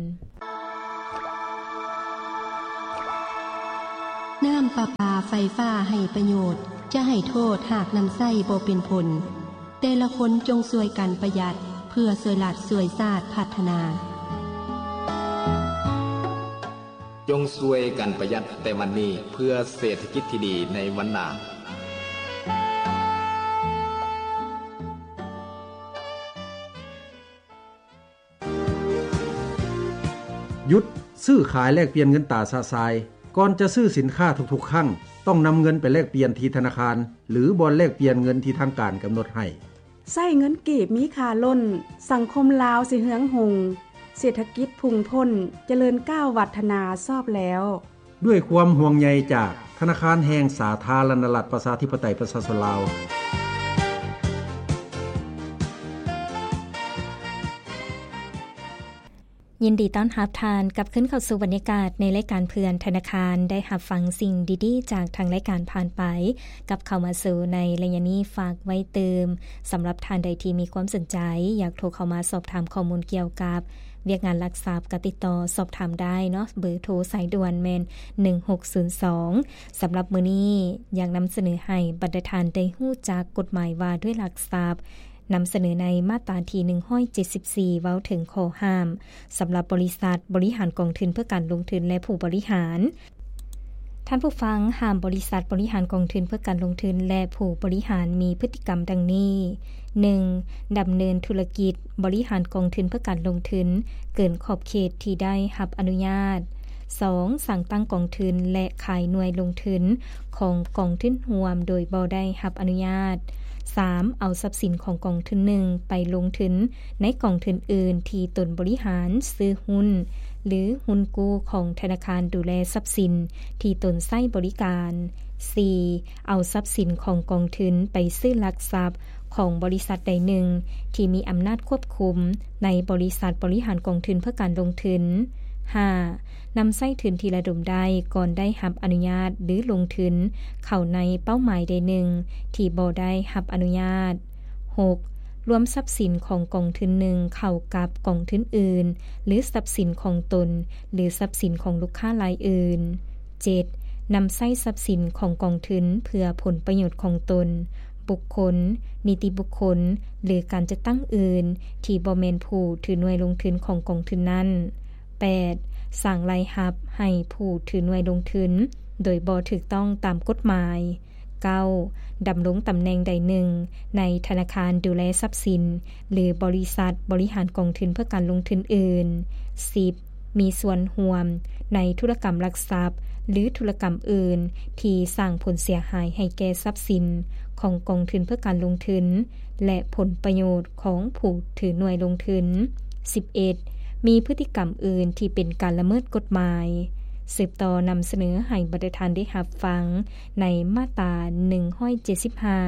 ນ້ຳປະປາໄຟຟ້າໃຫ້ປະໂຫຍດ, ຈະໃຫ້ໂທດຫາກນຳໃຊ້ບໍ່ເປັນຜົນ. ແຕ່ລະຄົນຈົ່ງຊ່ວຍກັນປະຢັດ ເພື່ອຊ່ວຍລັດຊ່ວຍຊາດພັດທະນາ. ຈົ່ງຊ່ວຍກັນປະຢັດແຕ່ວັນນີ້ ເພື່ອເສດຖະກິດທີ່ດີໃນວັນໜ້າ. ຢຸດຊື້ຂາຍແລກປ່ຽນເງິນຕາຊະຊາຍ. ກ່ອນຈະຊື້ສິນຄ້າທຸກໆຄັ້ງ, ຕ້ອງນຳເງິນໄປແລກປ່ຽນທີ່ທະນາຄານ ຫຼື ບ່ອນແລກປ່ຽນເງິນທີ່ທາງການກຳນົດໃຫ້. ໃຊ້ເງິນກີບມີຄ່າລົ້ນ, ສັງຄົມລາວຊິເຮືອງຮຸ່ງ, ເສດຖະກິດພຸ່ງພົ້ນ, ຈະເລີນກ້າວວັດທະນາຊອບແລ້ວ. ດ້ວຍຄວາມຫ່ວງໃຍຈາກທະນາຄານແຫ່ງສາທາລະນະລັດ ປະຊາທິປະໄຕ ປະຊາຊົນລາວ. ຍິນດີຕ້ອນຮັບທ່ານກັບຄືນເຂົ້າສູ່ບັນຍາກາດໃນລາຍການເພື່ອນທະນາຄານ. ໄດ້ຮັບຟັງສິ່ງດີໆຈາກທາງລາຍການຜ່ານໄປ, ກັບເຂົ້າມາສູ່ໃນໄລຍະນີ້ ຝາກໄວ້ຕື່ມ. ສຳລັບທ່ານໃດທີ່ມີຄວາມສົນໃຈ ຢາກໂທເຂົ້າມາສອບຖາມຂໍ້ມູນກ່ຽວກັບວຽກງານຫຼັກຊັບ, ກໍຕິດຕໍ່ສອບຖາມໄດ້ເນາະ, ເບີໂທສາຍດ່ວນແມ່ນ ໜຶ່ງຫົກສູນສອງ. ສຳລັບມື້ນີ້ ຢາກນຳສະເໜີໃຫ້ບັນດາທ່ານໄດ້ຮູ້ຈັກກົດໝາຍວ່າດ້ວຍຫຼັກຊັບ, ນຳສະເໜີໃນມາດຕາທີ ໜຶ່ງຮ້ອຍເຈັດສິບສີ່ ເວົ້າເຖິງຂໍ້ຫ້າມ ສຳລັບບໍລິສັດບໍລິຫານກອງທຶນເພື່ອການລົງທຶນ ແລະ ຜູ້ບໍລິຫານ. ທ່ານຜູ້ຟັງ, ຫ້າມບໍລິສັດບໍລິຫານກອງທຶນເພື່ອການລົງທຶນ ແລະ ຜູ້ບໍລິຫານມີພຶດຕິກຳດັ່ງນີ້: ໜຶ່ງ ດຳເນີນທຸລະກິດບໍລິຫານກອງທຶນເພື່ອການລົງທຶນເກີນຂອບເຂດທີ່ໄດ້ຮັບອະນຸຍາດ. ສອງ ສ້າງຕັ້ງກອງທຶນ ແລະ ຂາຍໜ່ວຍລົງທຶນຂອງກອງທຶນຮ່ວມໂດຍບໍ່ໄດ້ຮັບອະນຸຍາດ. ສາມ ເອົາຊັບສິນຂອງກອງທຶນໜຶ່ງໄປລົງທຶນໃນກອງທຶນອື່ນທີ່ຕົນບໍລິຫານ, ຊື້ຫຸ້ນ ຫຼື ຫຸ້ນກູ້ຂອງທະນາຄານດູແລຊັບສິນທີ່ຕົນໃຊ້ບໍລິການ. ສີ່ ເອົາຊັບສິນຂອງກອງທຶນໄປຊື້ຫຼັກຊັບຂອງບໍລິສັດໃດໜຶ່ງທີ່ມີອຳນາດຄວບຄຸມໃນບໍລິສັດບໍລິຫານກອງທຶນເພື່ອການລົງທຶນ. ຫ້າ ນຳໃຊ້ທຶນທີ່ລະດົມໄດ້ກ່ອນໄດ້ຮັບອະນຸຍາດ ຫຼື ລົງທຶນເຂົ້າໃນເປົ້າໝາຍໃດໜຶ່ງທີ່ບໍ່ໄດ້ຮັບອະນຸຍາດ. ຫົກ ລວມຊັບສິນຂອງກອງທຶນໜຶ່ງເຂົ້າກັບກອງທຶນອື່ນ ຫຼື ຊັບສິນຂອງຕົນ ຫຼື ຊັບສິນຂອງລູກຄ້າລາຍອື່ນ. ເຈັດ ນຳໃຊ້ຊັບສິນຂອງກອງທຶນເພື່ອຜົນປະໂຫຍດຂອງຕົນ, ບຸກຄົນ, ນິຕິບຸກຄົນ ຫຼື ການຈັດຕັ້ງອື່ນທີ່ບໍ່ແມ່ນຜູ້ຖືໜ່ວຍລົງທຶນຂອງກອງທຶນນັ້ນ. ແປດ ສ້າງລາຍຮັບໃຫ້ຜູ້ຖືໜ່ວຍລົງທຶນໂດຍບໍ່ຖືກຕ້ອງຕາມກົດໝາຍ. ເກົ້າ ດຳລົງຕຳແໜ່ງໃດໜຶ່ງໃນທະນາຄານດູແລຊັບສິນ ຫຼື ບໍລິສັດບໍລິຫານກອງທຶນເພື່ອການລົງທຶນອື່ນ. ສິບ ມີສ່ວນຮ່ວມໃນທຸລະກຳຫຼັກຊັບ ຫຼື ທຸລະກຳອື່ນທີ່ສ້າງຜົນເສຍຫາຍໃຫ້ແກ່ຊັບສິນຂອງກອງທຶນເພື່ອການລົງທຶນ ແລະ ຜົນປະໂຫຍດຂອງຜູ້ຖືໜ່ວຍລົງທຶນ. ສິບເອັດ ມີພຶດຕິກຳອື່ນທີ່ເປັນການລະເມີດກົດໝາຍ. ສືບຕໍ່ນຳສະເໜີໃຫ້ບັນດາທ່ານໄດ້ຮັບຟັງ ໃນມາດຕາ ໜຶ່ງຮ້ອຍເຈັດສິບຫ້າ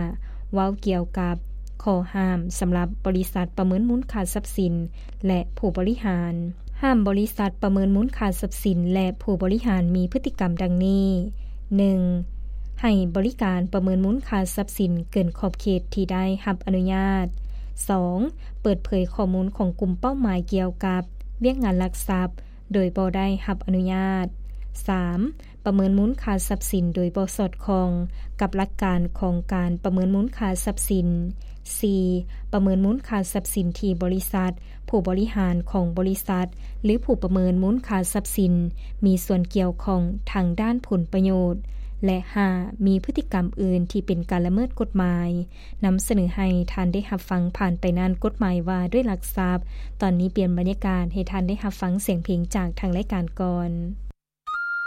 ເວົ້າກ່ຽວກັບຂໍ້ຫ້າມສຳລັບບໍລິສັດປະເມີນມູນຄ່າຊັບສິນ ແລະ ຜູ້ບໍລິຫານ. ຫ້າມບໍລິສັດປະເມີນມູນຄ່າຊັບສິນ ແລະ ຜູ້ບໍລິຫານມີພຶດຕິກຳດັ່ງນີ້: ໜຶ່ງ ໃຫ້ບໍລິການປະເມີນມູນຄ່າຊັບສິນເກີນຂອບເຂດທີ່ໄດ້ຮັບອະນຸຍາດ. ສອງ ເປີດເຜີຍຂໍ້ມູນຂອງກຸ່ມເປົ້າໝາຍກ່ຽວກັບວຽກງານຫຼັກຊັບ ໂດຍບໍ່ໄດ້ຮັບອະນຸຍາດ. ສາມ ປະເມີນມູນຄ່າຊັບສິນໂດຍບໍ່ສອດຄ່ອງກັບຫຼັກການຂອງການປະເມີນມູນຄ່າຊັບສິນ. ສີ່ ປະເມີນມູນຄ່າຊັບສິນທີ່ບໍລິສັດ, ຜູ້ບໍລິຫານຂອງບໍລິສັດ ຫຼື ຜູ້ປະເມີນມູນຄ່າຊັບສິນ ມີສ່ວນກ່ຽວຂ້ອງທາງດ້ານຜົນປະໂຫຍດ. ແລະ ຫ້າ ມີພຶດຕິກຳອື່ນທີ່ເປັນການລະເມີດກົດໝາຍ. ນຳສະເໜີໃຫ້ທ່ານໄດ້ຮັບຟັງຜ່ານໄປນັ້ນ ກົດໝາຍວ່າດ້ວຍຫຼັກຊັບ. ຕອນນີ້ປ່ຽນບັນຍາກາດໃຫ້ທ່ານໄດ້ຮັບຟັງສຽງເພງຈາກທາງລາຍການກ່ອນ.